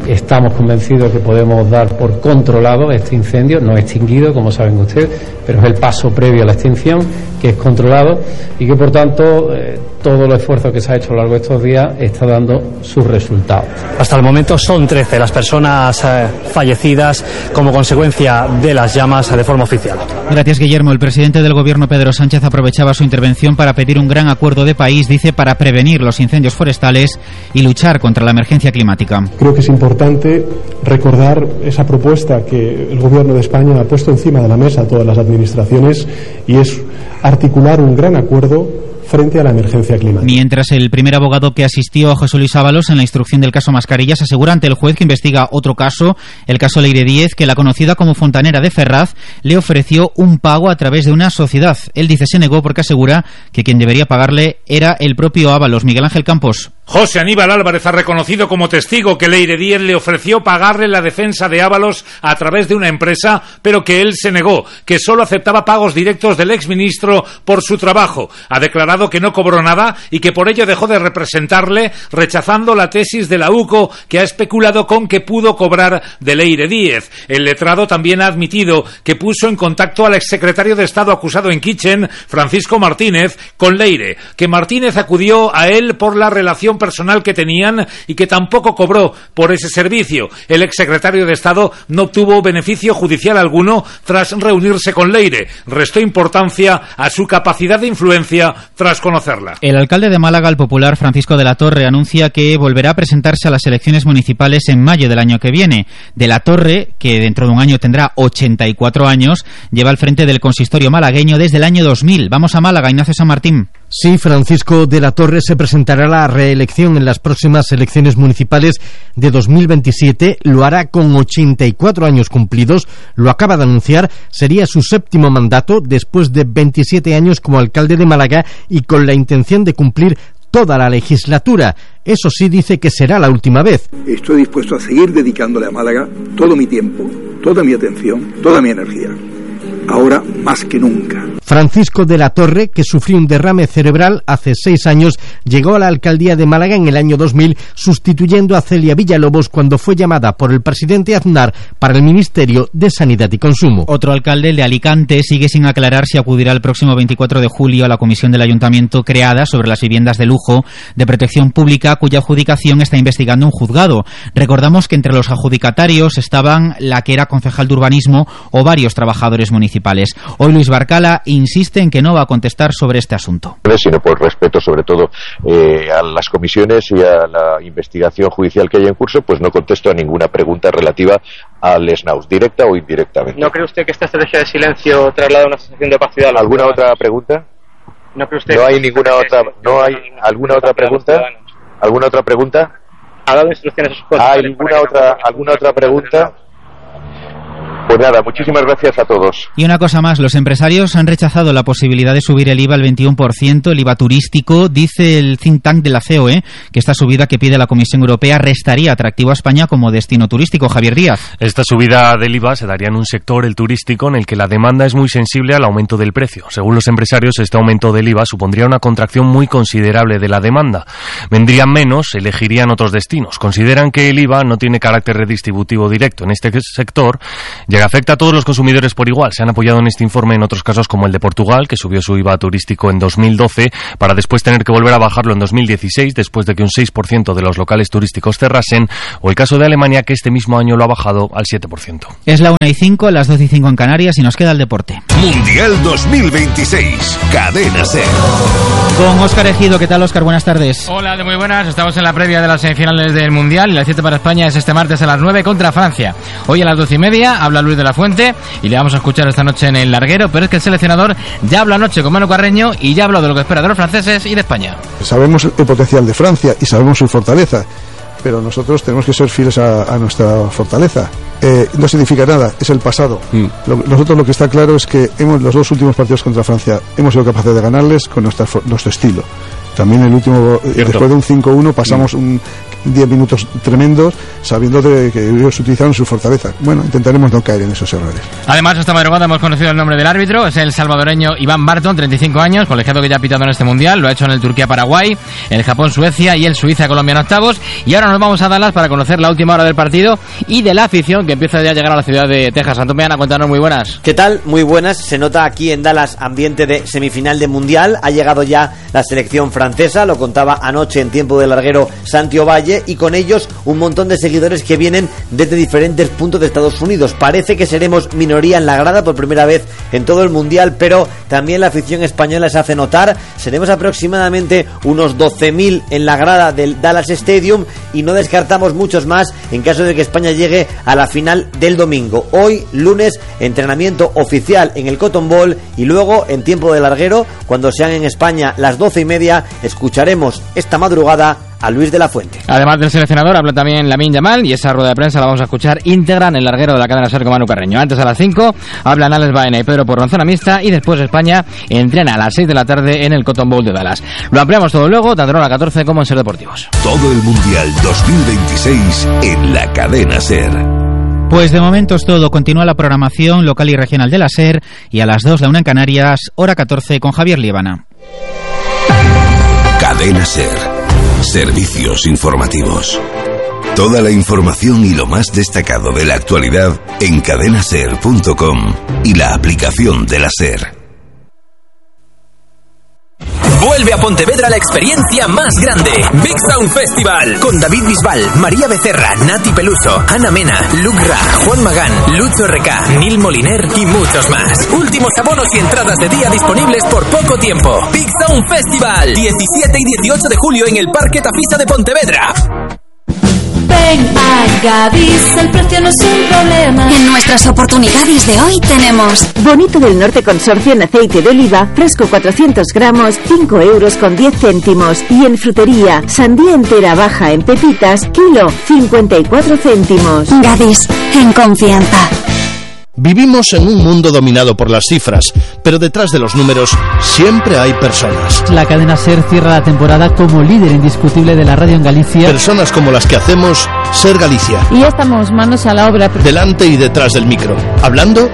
Speaker 11: estamos convencidos que podemos dar por controlado este incendio, no extinguido, como saben ustedes, pero es el paso previo a la extinción, que es controlado, y que por tanto todo el esfuerzo que se ha hecho a lo largo de estos días está dando sus resultados.
Speaker 10: Hasta el momento son 13 las personas fallecidas como consecuencia de las llamas de forma oficial.
Speaker 9: Gracias, Guillermo. El presidente del Gobierno, Pedro Sánchez, aprovechaba su intervención para pedir un gran acuerdo de país, dice, para prevenir los incendios forestales y luchar contra la emergencia climática.
Speaker 12: Creo que es importante recordar esa propuesta que el Gobierno de España ha puesto encima de la mesa a todas las administraciones, y es articular un gran acuerdo frente a la emergencia climática.
Speaker 9: Mientras el primer abogado que asistió a José Luis Ábalos en la instrucción del caso Mascarillas asegura ante el juez que investiga otro caso, el caso Leire Díez, que la conocida como Fontanera de Ferraz le ofreció un pago a través de una sociedad. Él dice se negó porque asegura que quien debería pagarle era el propio Ábalos. Miguel Ángel Campos.
Speaker 13: José Aníbal Álvarez ha reconocido como testigo que Leire Díez le ofreció pagarle la defensa de Ábalos a través de una empresa, pero que él se negó, que solo aceptaba pagos directos del exministro por su trabajo. Ha declarado que no cobró nada y que por ello dejó de representarle, rechazando la tesis de la UCO, que ha especulado con que pudo cobrar de Leire Díez. El letrado también ha admitido que puso en contacto al exsecretario de Estado acusado en Kitchen, Francisco Martínez, con Leire, que Martínez acudió a él por la relación personal que tenían y que tampoco cobró por ese servicio. El exsecretario de Estado no obtuvo beneficio judicial alguno tras reunirse con Leire. Restó importancia a su capacidad de influencia tras conocerla.
Speaker 9: El alcalde de Málaga, el popular Francisco de la Torre, anuncia que volverá a presentarse a las elecciones municipales en mayo del año que viene. De la Torre, que dentro de un año tendrá 84 años, lleva al frente del consistorio malagueño desde el año 2000. Vamos a Málaga, Ignacio San Martín.
Speaker 14: Sí, Francisco de la Torre se presentará a la reelección en las próximas elecciones municipales de 2027. Lo hará con 84 años cumplidos. Lo acaba de anunciar. Sería su séptimo mandato después de 27 años como alcalde de Málaga y con la intención de cumplir toda la legislatura. Eso sí, dice que será la última vez.
Speaker 15: Estoy dispuesto a seguir dedicándole a Málaga todo mi tiempo, toda mi atención, toda mi energía. Ahora más que nunca.
Speaker 14: Francisco de la Torre, que sufrió un derrame cerebral hace 6 años, llegó a la alcaldía de Málaga en el año 2000, sustituyendo a Celia Villalobos cuando fue llamada por el presidente Aznar para el Ministerio de Sanidad y Consumo.
Speaker 9: Otro alcalde, el de Alicante, sigue sin aclarar si acudirá el próximo 24 de julio a la comisión del ayuntamiento creada sobre las viviendas de lujo de protección pública, cuya adjudicación está investigando un juzgado. Recordamos que entre los adjudicatarios estaban la que era concejal de urbanismo o varios trabajadores municipales. Hoy Luis Barcala insiste en que no va a contestar sobre este asunto.
Speaker 16: Sino por respeto sobre todo a las comisiones y a la investigación judicial que hay en curso, pues no contesto a ninguna pregunta relativa al SNAUS, directa o indirectamente.
Speaker 17: ¿No cree usted que esta estrategia de silencio traslada una sensación de opacidad?
Speaker 16: ¿Alguna otra pregunta?
Speaker 17: ¿No cree usted?
Speaker 16: No hay ninguna otra. ¿No hay alguna otra pregunta? ¿Alguna otra pregunta?
Speaker 17: ¿Ha dado instrucciones a sus
Speaker 16: ¿Hay alguna otra pregunta? Pues nada, muchísimas gracias a todos.
Speaker 9: Y una cosa más, los empresarios han rechazado la posibilidad de subir el IVA al 21%, el IVA turístico. Dice el think tank de la COE que esta subida que pide la Comisión Europea restaría atractivo a España como destino turístico. Javier Díaz.
Speaker 18: Esta subida del IVA se daría en un sector, el turístico, en el que la demanda es muy sensible al aumento del precio. Según los empresarios, este aumento del IVA supondría una contracción muy considerable de la demanda. Vendrían menos, elegirían otros destinos. Consideran que el IVA no tiene carácter redistributivo directo en este sector, ya que afecta a todos los consumidores por igual. Se han apoyado en este informe en otros casos como el de Portugal, que subió su IVA turístico en 2012 para después tener que volver a bajarlo en 2016 después de que un 6% de los locales turísticos cerrasen, o el caso de Alemania, que este mismo año lo ha bajado al 7%.
Speaker 9: Es la 1:05, las 12:05 en Canarias, y nos queda el deporte.
Speaker 19: Mundial 2026, Cadena SER.
Speaker 9: Con Óscar Ejido. ¿Qué tal, Óscar? Buenas tardes.
Speaker 20: Hola, muy buenas. Estamos en la previa de las semifinales del Mundial y la cita para España es este martes a las 9 contra Francia. Hoy a las 12:30 habla Luis de la Fuente y le vamos a escuchar esta noche en el larguero, pero es que el seleccionador ya habló anoche con Manu Carreño y ya habló de lo que espera de los franceses y de España.
Speaker 21: Sabemos el potencial de Francia y sabemos su fortaleza, pero nosotros tenemos que ser fieles a nuestra fortaleza. No significa nada, es el pasado. Nosotros lo que está claro es que los 2 últimos partidos contra Francia hemos sido capaces de ganarles con nuestro estilo. También el último, después de un 5-1 pasamos 10 minutos tremendos sabiendo que ellos utilizaron su fortaleza. Bueno, intentaremos no caer en esos errores.
Speaker 20: Además, esta madrugada hemos conocido el nombre del árbitro, es el salvadoreño Iván Barton, 35 años, colegiado que ya ha pitado en este Mundial, lo ha hecho en el Turquía-Paraguay, el Japón-Suecia y el Suiza-Colombia en octavos, y ahora nos vamos a Dallas para conocer la última hora del partido y de la afición que empieza ya a llegar a la ciudad de Texas. Antomeana, cuéntanos, muy buenas.
Speaker 22: ¿Qué tal? Muy buenas. Se nota aquí en Dallas ambiente de semifinal de Mundial, ha llegado ya la selección francesa, lo contaba anoche en tiempo de larguero Santi Ovalle, y con ellos un montón de seguidores que vienen desde diferentes puntos de Estados Unidos. Parece que seremos minoría en la grada por primera vez en todo el Mundial, pero también la afición española se hace notar. Seremos aproximadamente unos 12.000 en la grada del Dallas Stadium y no descartamos muchos más en caso de que España llegue a la final del domingo. Hoy, lunes, entrenamiento oficial en el Cotton Bowl y luego, en tiempo de larguero, cuando sean en España las 12:30, escucharemos esta madrugada a Luis de la Fuente.
Speaker 20: Además del seleccionador, habla también Lamine Yamal y esa rueda de prensa la vamos a escuchar íntegra en el larguero de la cadena SER con Manu Carreño. Antes, a las 5, hablan Alex Baena y Pedro Porro en zona mixta, y después España entrena a las 6 de la tarde en el Cotton Bowl de Dallas. Lo ampliamos todo luego, tanto en la 14 como en SER Deportivos.
Speaker 19: Todo el Mundial 2026 en la cadena SER.
Speaker 9: Pues de momento es todo. Continúa la programación local y regional de la SER, y a las 2, la 1 en Canarias, hora 14, con Javier Líbana.
Speaker 19: Cadena SER. Servicios informativos. Toda la información y lo más destacado de la actualidad en cadenaser.com y la aplicación de la SER.
Speaker 23: Vuelve a Pontevedra la experiencia más grande, Big Sound Festival, con David Bisbal, María Becerra, Nati Peluso, Ana Mena, Luke Ra, Juan Magán, Lucho RK, Nil Moliner y muchos más. Últimos abonos y entradas de día disponibles por poco tiempo. Big Sound Festival, 17 y 18 de julio en el Parque Tafisa de Pontevedra.
Speaker 4: Ven a Gadis, el precio no es un problema. En nuestras oportunidades de hoy tenemos
Speaker 24: Bonito del Norte Consorcio en aceite de oliva, fresco 400 gramos, 5 euros con 10 céntimos. Y en frutería, sandía entera baja en pepitas, kilo, 54 céntimos.
Speaker 4: Gadis, en confianza.
Speaker 14: Vivimos en un mundo dominado por las cifras, pero detrás de los números siempre hay personas.
Speaker 25: La cadena SER cierra la temporada como líder indiscutible de la radio en Galicia.
Speaker 14: Personas como las que hacemos SER Galicia.
Speaker 25: Y ya estamos manos a la obra.
Speaker 14: Delante y detrás del micro, hablando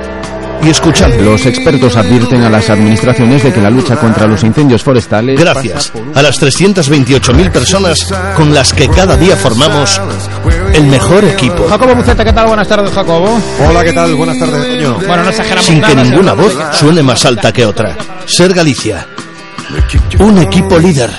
Speaker 1: y escuchando.
Speaker 3: Los expertos advierten a las administraciones de que la lucha contra los incendios forestales...
Speaker 1: Gracias a las 328.000 personas con las que cada día formamos el mejor equipo.
Speaker 5: Jacobo Buceta, ¿qué tal? Buenas tardes, Jacobo.
Speaker 6: Hola, ¿qué tal? Buenas tardes, Toño.
Speaker 5: Bueno, no exageramos
Speaker 1: Sin
Speaker 5: nada,
Speaker 1: que ninguna voz suene más alta que otra. Ser Galicia. Un equipo líder.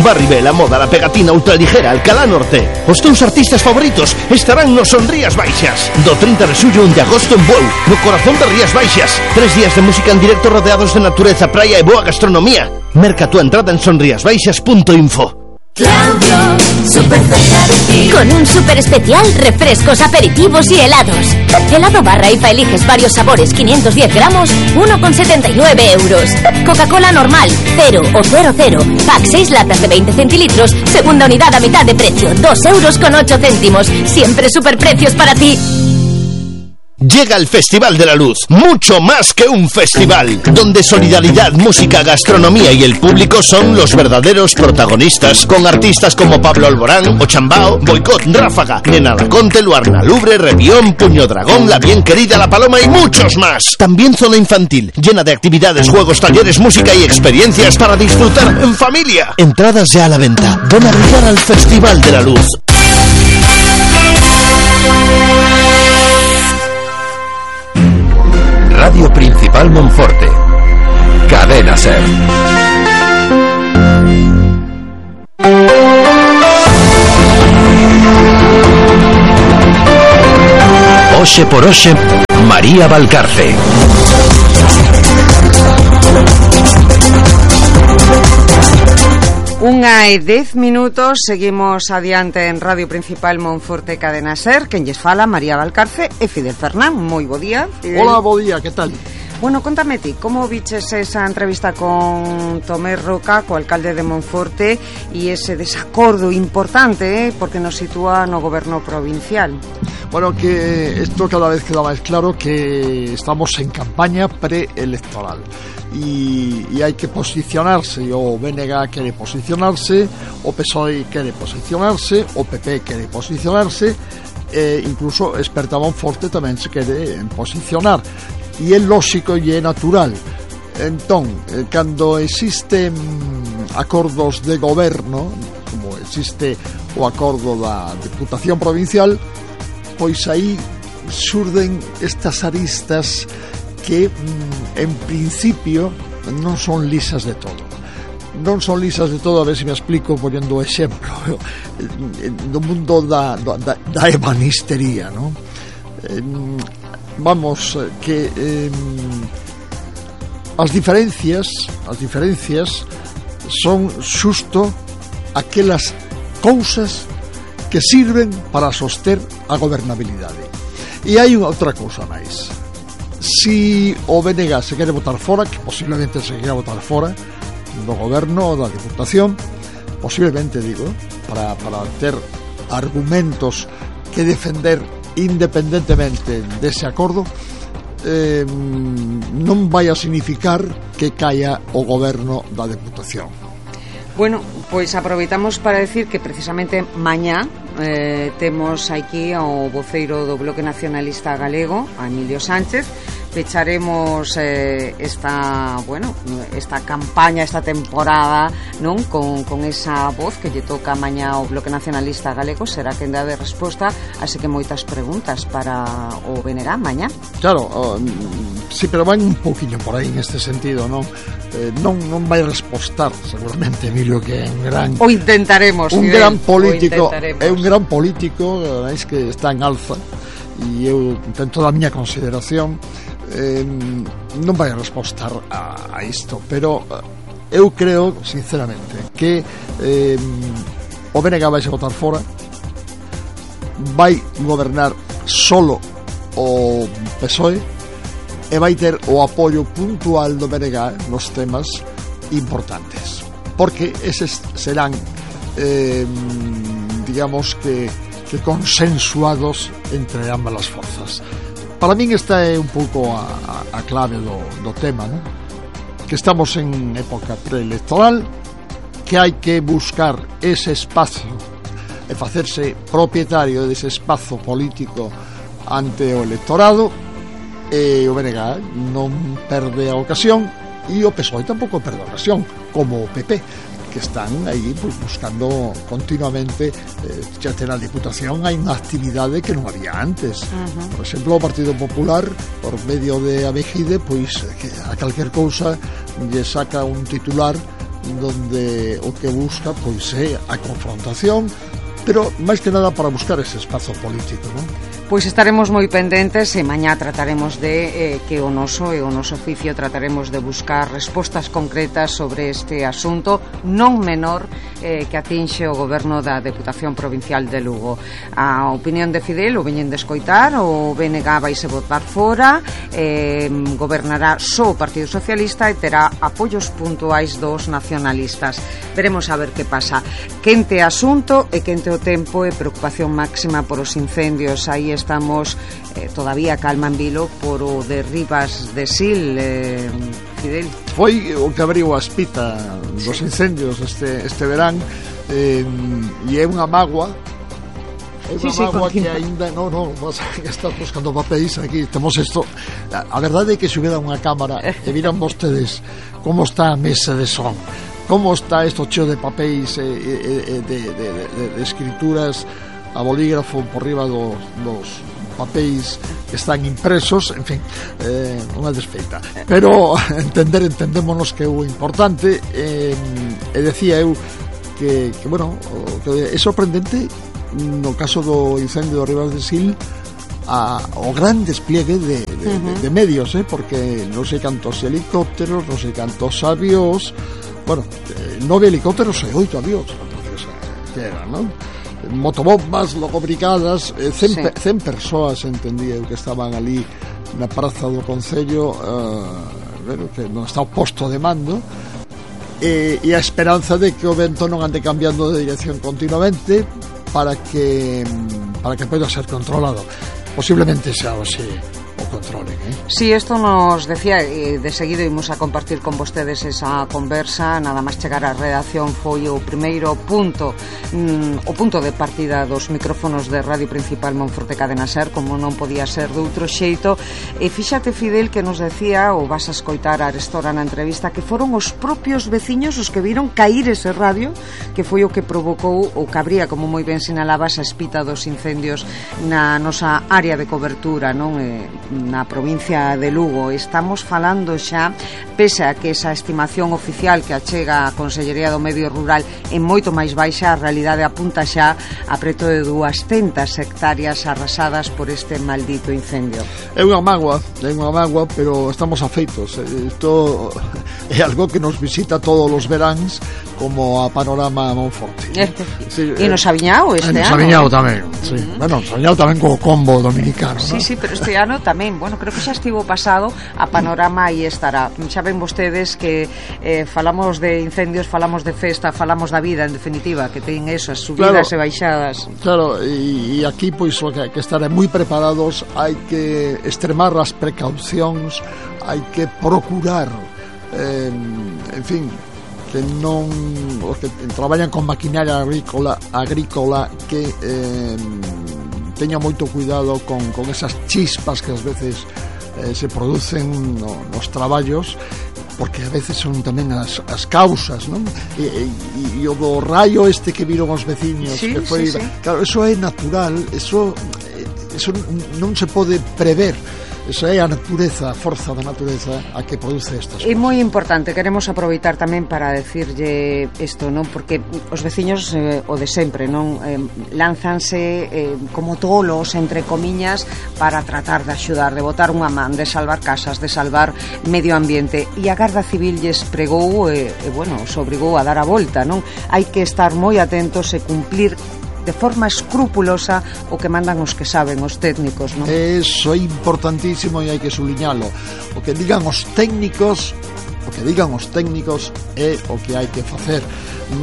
Speaker 1: Barry B, la moda, la pegatina ultraligera, Alcalá Norte. Os teus artistas favoritos estarán nos Son Rías Baixas. Do 30 de xullo 1 de agosto en Bueu, no corazón de Rías Baixas. 3 días de música en directo rodeados de natureza, praia e boa gastronomía. Merca tu entrada en sonriasbaixas.info.
Speaker 24: Claudio, súper cerca de ti. Con un súper especial, refrescos, aperitivos y helados. Helado barra IFA, eliges varios sabores, 510 gramos, 1,79 euros. Coca-Cola normal, 0 o 00. Pack 6 latas de 20 centilitros, segunda unidad a mitad de precio, 2,08 euros. Siempre superprecios para ti.
Speaker 1: Llega el Festival de la Luz, mucho más que un festival, donde solidaridad, música, gastronomía y el público son los verdaderos protagonistas, con artistas como Pablo Alborán, Ochambao, Boicot, Ráfaga, Nena Laconte, Luarna Lubre, Revión, Puño Dragón, La Bien Querida, La Paloma y muchos más. También zona infantil, llena de actividades, juegos, talleres, música y experiencias para disfrutar en familia. Entradas ya a la venta. Ven a brillar al Festival de la Luz.
Speaker 19: Radio Principal Monforte. Cadena SER. Oxe por Oxe, María Valcarce.
Speaker 2: Unha e 10 minutos, seguimos adiante en Radio Principal Monforte Cadena SER. Quen lles fala, María Valcarce e Fidel Fernán. Moi bo día, Fidel.
Speaker 6: Hola, bo día, que tal?
Speaker 2: Bueno, contame ti, como viches esa entrevista con Tomé Roca, co alcalde de Monforte, e ese desacordo importante, porque nos sitúa no goberno provincial?
Speaker 6: Bueno, que esto cada vez queda más claro que estamos en campaña preelectoral y hay que posicionarse. O BNG quiere posicionarse, o PSOE quiere posicionarse, o PP quiere posicionarse, incluso Experta Monforte tamén se quere posicionar. E é lógico e é natural. Entón, cando existen acordos de goberno, como existe o acordo da Diputación Provincial, pois aí xurden estas aristas que en principio non son lisas de todo. Non son lisas de todo, a ver se me explico poñendo o exemplo do mundo da ebanistería, non? Vamos, que as diferencias son xusto aquelas cousas que sirven para soster a gobernabilidade. E hai outra cousa máis. Si o BNG se quere votar fora, que posiblemente se quere votar fora do goberno ou da Diputación, posiblemente, digo, para ter argumentos que defender independentemente dese acordo, non vai a significar que caia o goberno da Deputación.
Speaker 2: Bueno, pois aproveitamos para decir que precisamente mañá temos aquí ao voceiro do Bloque Nacionalista Galego, a Emilio Sánchez. Pecharemos esta campaña, esta temporada, non, con esa voz que lle toca mañá ao Bloque Nacionalista Galego. Será quen dá de resposta, así que moitas preguntas para o BNG mañá.
Speaker 6: Claro, sí, pero van un poquinho por aí neste sentido, non? Non vai respostar seguramente Emilio, que é un gran...
Speaker 2: O intentaremos.
Speaker 6: Un gran político, é un gran político, é que está en alza, e eu, ten toda a miña consideración, non vai a respostar a isto, pero eu creo sinceramente que o BNG vai se votar fora, vai gobernar solo o PSOE e vai ter o apoio puntual do BNG nos temas importantes, porque eses serán digamos que consensuados entre ambas as forzas. Para min esta é un pouco a clave do tema, ¿no? Que estamos en época preelectoral, que hai que buscar ese espazo e facerse propietario dese espazo político ante o electorado, o BNG non perde a ocasión e o PSOE tampouco perde a ocasión, como o PP, que están aí pues, buscando continuamente xa na Diputación hai unha actividade que non había antes. Por exemplo, o Partido Popular, por medio de Abejide, pois a calquer cousa lle saca un titular donde o que busca pois é a confrontación, pero máis que nada para buscar ese espazo político, non?
Speaker 2: Pois estaremos moi pendentes e mañá trataremos de que o noso oficio trataremos de buscar respostas concretas sobre este asunto non menor que atinxe o goberno da Deputación Provincial de Lugo. A opinión de Fidel o veñen de escoitar, o BNG vaise votar fora, gobernará só o Partido Socialista e terá apoios puntuais dos nacionalistas. Veremos a ver que pasa. Quente asunto e quente o tempo e preocupación máxima por os incendios. Aí estamos todavía calma en vilo por o de Rivas de Sil, Fidel.
Speaker 6: Foi o que abriu a espita dos incendios este verán, e é unha mágoa. É unha mágoa que ainda non que estás buscando papéis aquí. Temos isto. A verdade é que se hubiera unha cámara e viran vostedes como está a mesa de son, como está isto cheo de papéis de escrituras a bolígrafo por riba dos papéis que están impresos, en fin, unha desfeita. Pero entendémonos que é o importante, e decía eu que bueno, que é sorprendente no caso do incendio de Rivas de Sil o gran despliegue de medios, porque non sei cantos helicópteros, non sei cantos avións, bueno, 9 helicópteros e 8 avións, que era, non? Motobombas logo brigadas, 100 persoas, entendía eu, que estaban ali na praza do Concello, que non está o posto de mando, e a esperanza de que o vento non ande cambiando de dirección continuamente para que poida ser controlado. Posiblemente xa así o controlen,
Speaker 2: Si, isto nos decía, de seguido imos a compartir con vostedes esa conversa, nada máis chegar á redacción foi o primeiro punto, o punto de partida dos micrófonos de Radio Principal Monforte Cadena Ser, como non podía ser de outro xeito. E fíxate, Fidel, que nos decía, ou vas a escoitar a arestora na entrevista, que foron os propios veciños os que viron cair ese radio, que foi o que provocou o que habría, como moi ben sinalabas, a espita dos incendios na nosa área de cobertura, non? Na provincia de Lugo. Estamos falando xa, pese a que esa estimación oficial que achega a Consellería do Medio Rural é moito máis baixa, a realidade apunta xa a preto de 200 hectáreas arrasadas por este maldito incendio.
Speaker 6: É unha mágoa, pero estamos afeitos. Isto é algo que nos visita todos os veráns, como a Panorama Monforte.
Speaker 2: E nos Aviñao este ano.
Speaker 6: Nos Aviñao tamén, sí. Bueno, nos Aviñao tamén co combo dominicano.
Speaker 2: Sí, pero este ano tamén, bueno, creo que xa estivo pasado, a Panorama aí estará. Xa ven vostedes que falamos de incendios, falamos de festa, falamos da vida, en definitiva, que ten eso, as subidas e baixadas.
Speaker 6: Claro, e aquí pois que estar moi preparados, hai que extremar as precaucións, hai que procurar, en fin, que non os que traballan con maquinaria agrícola que teña moito cuidado con esas chispas que ás veces se producen nos traballos, porque a veces son tamén as causas, non? E o do raio este que viron os veciños, que foi, claro, eso é natural, eso non se pode prever. Esa é a natureza, a forza da natureza a que produce estas cousas.
Speaker 2: É moi importante, queremos aproveitar tamén para decirlle isto, non? Porque os veciños, o de sempre, non? Lánzanse como tolos, entre comiñas, para tratar de axudar, de botar unha man, de salvar casas, de salvar medio ambiente. E a Garda Civil lles pregou, bueno, os obrigou a dar a volta, non? Hai que estar moi atentos e cumplir de forma escrupulosa o que mandan os que saben, os técnicos, non?
Speaker 6: Eso é importantísimo e hai que subliñalo. O que digan os técnicos é o que hai que facer.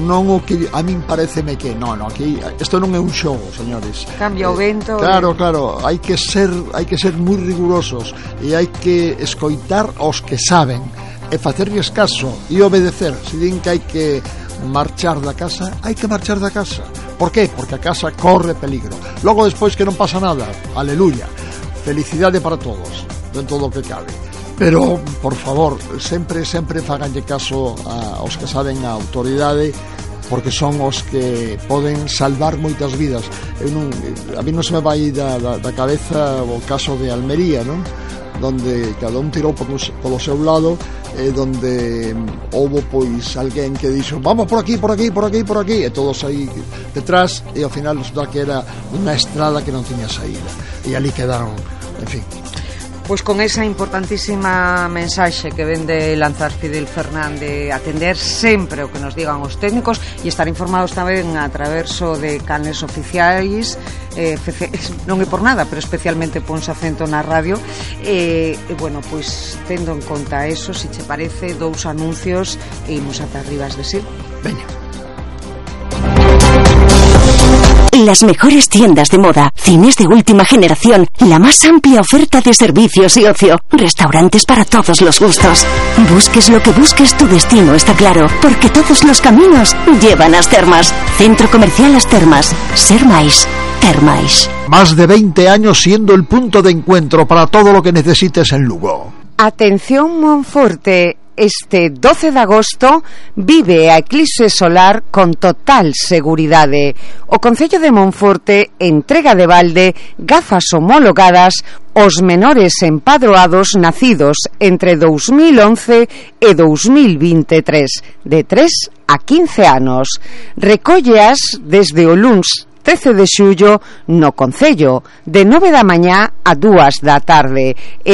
Speaker 6: Non o que a min pareceme que aquí isto non é un xogo, señores.
Speaker 2: Cambia o vento.
Speaker 6: Claro, hai que ser moi rigurosos e hai que escoitar aos que saben e facerlles caso e obedecer. Se din que hai que marchar da casa, hai que marchar da casa. Por qué? Porque a casa corre peligro. Logo despois que non pasa nada, aleluya, felicidade para todos. dentro do que cabe. Pero, por favor, sempre faganlle caso aos que saben a autoridade, porque son os que poden salvar moitas vidas. A mí non se me vai da cabeza o caso de Almería, non? Donde cada un tirou polo seu lado, donde houbo pois alguén que dixo vamos por aquí, e todos aí detrás, e ao final resulta que era unha estrada que non tiña saída, e ali quedaron, en fin.
Speaker 2: Pois con esa importantísima mensaxe que ven de lanzar Fidel Fernández, atender sempre o que nos digan os técnicos e estar informados tamén a traverso de canles oficiais, non é por nada, pero especialmente ponse acento na radio, bueno, pois tendo en conta eso, se che parece, 2 anuncios e imos ata Rivas de Sil.
Speaker 6: Veña.
Speaker 24: Las mejores tiendas de moda, cines de última generación, la más amplia oferta de servicios y ocio, restaurantes para todos los gustos. Busques lo que busques, tu destino está claro, porque todos los caminos llevan a As Termas. Centro Comercial As Termas. Ser máis. Termais.
Speaker 6: Más de 20 años siendo el punto de encuentro para todo lo que necesites en Lugo.
Speaker 2: Atención Monforte, este 12 de agosto vive a eclipse solar con total seguridade. O Concello de Monforte entrega de balde gafas homologadas aos menores empadroados nacidos entre 2011 e 2023, de 3 a 15 anos. Recólleas desde o luns 13 de xullo no Concello, de 9 da mañá a 2 da tarde. El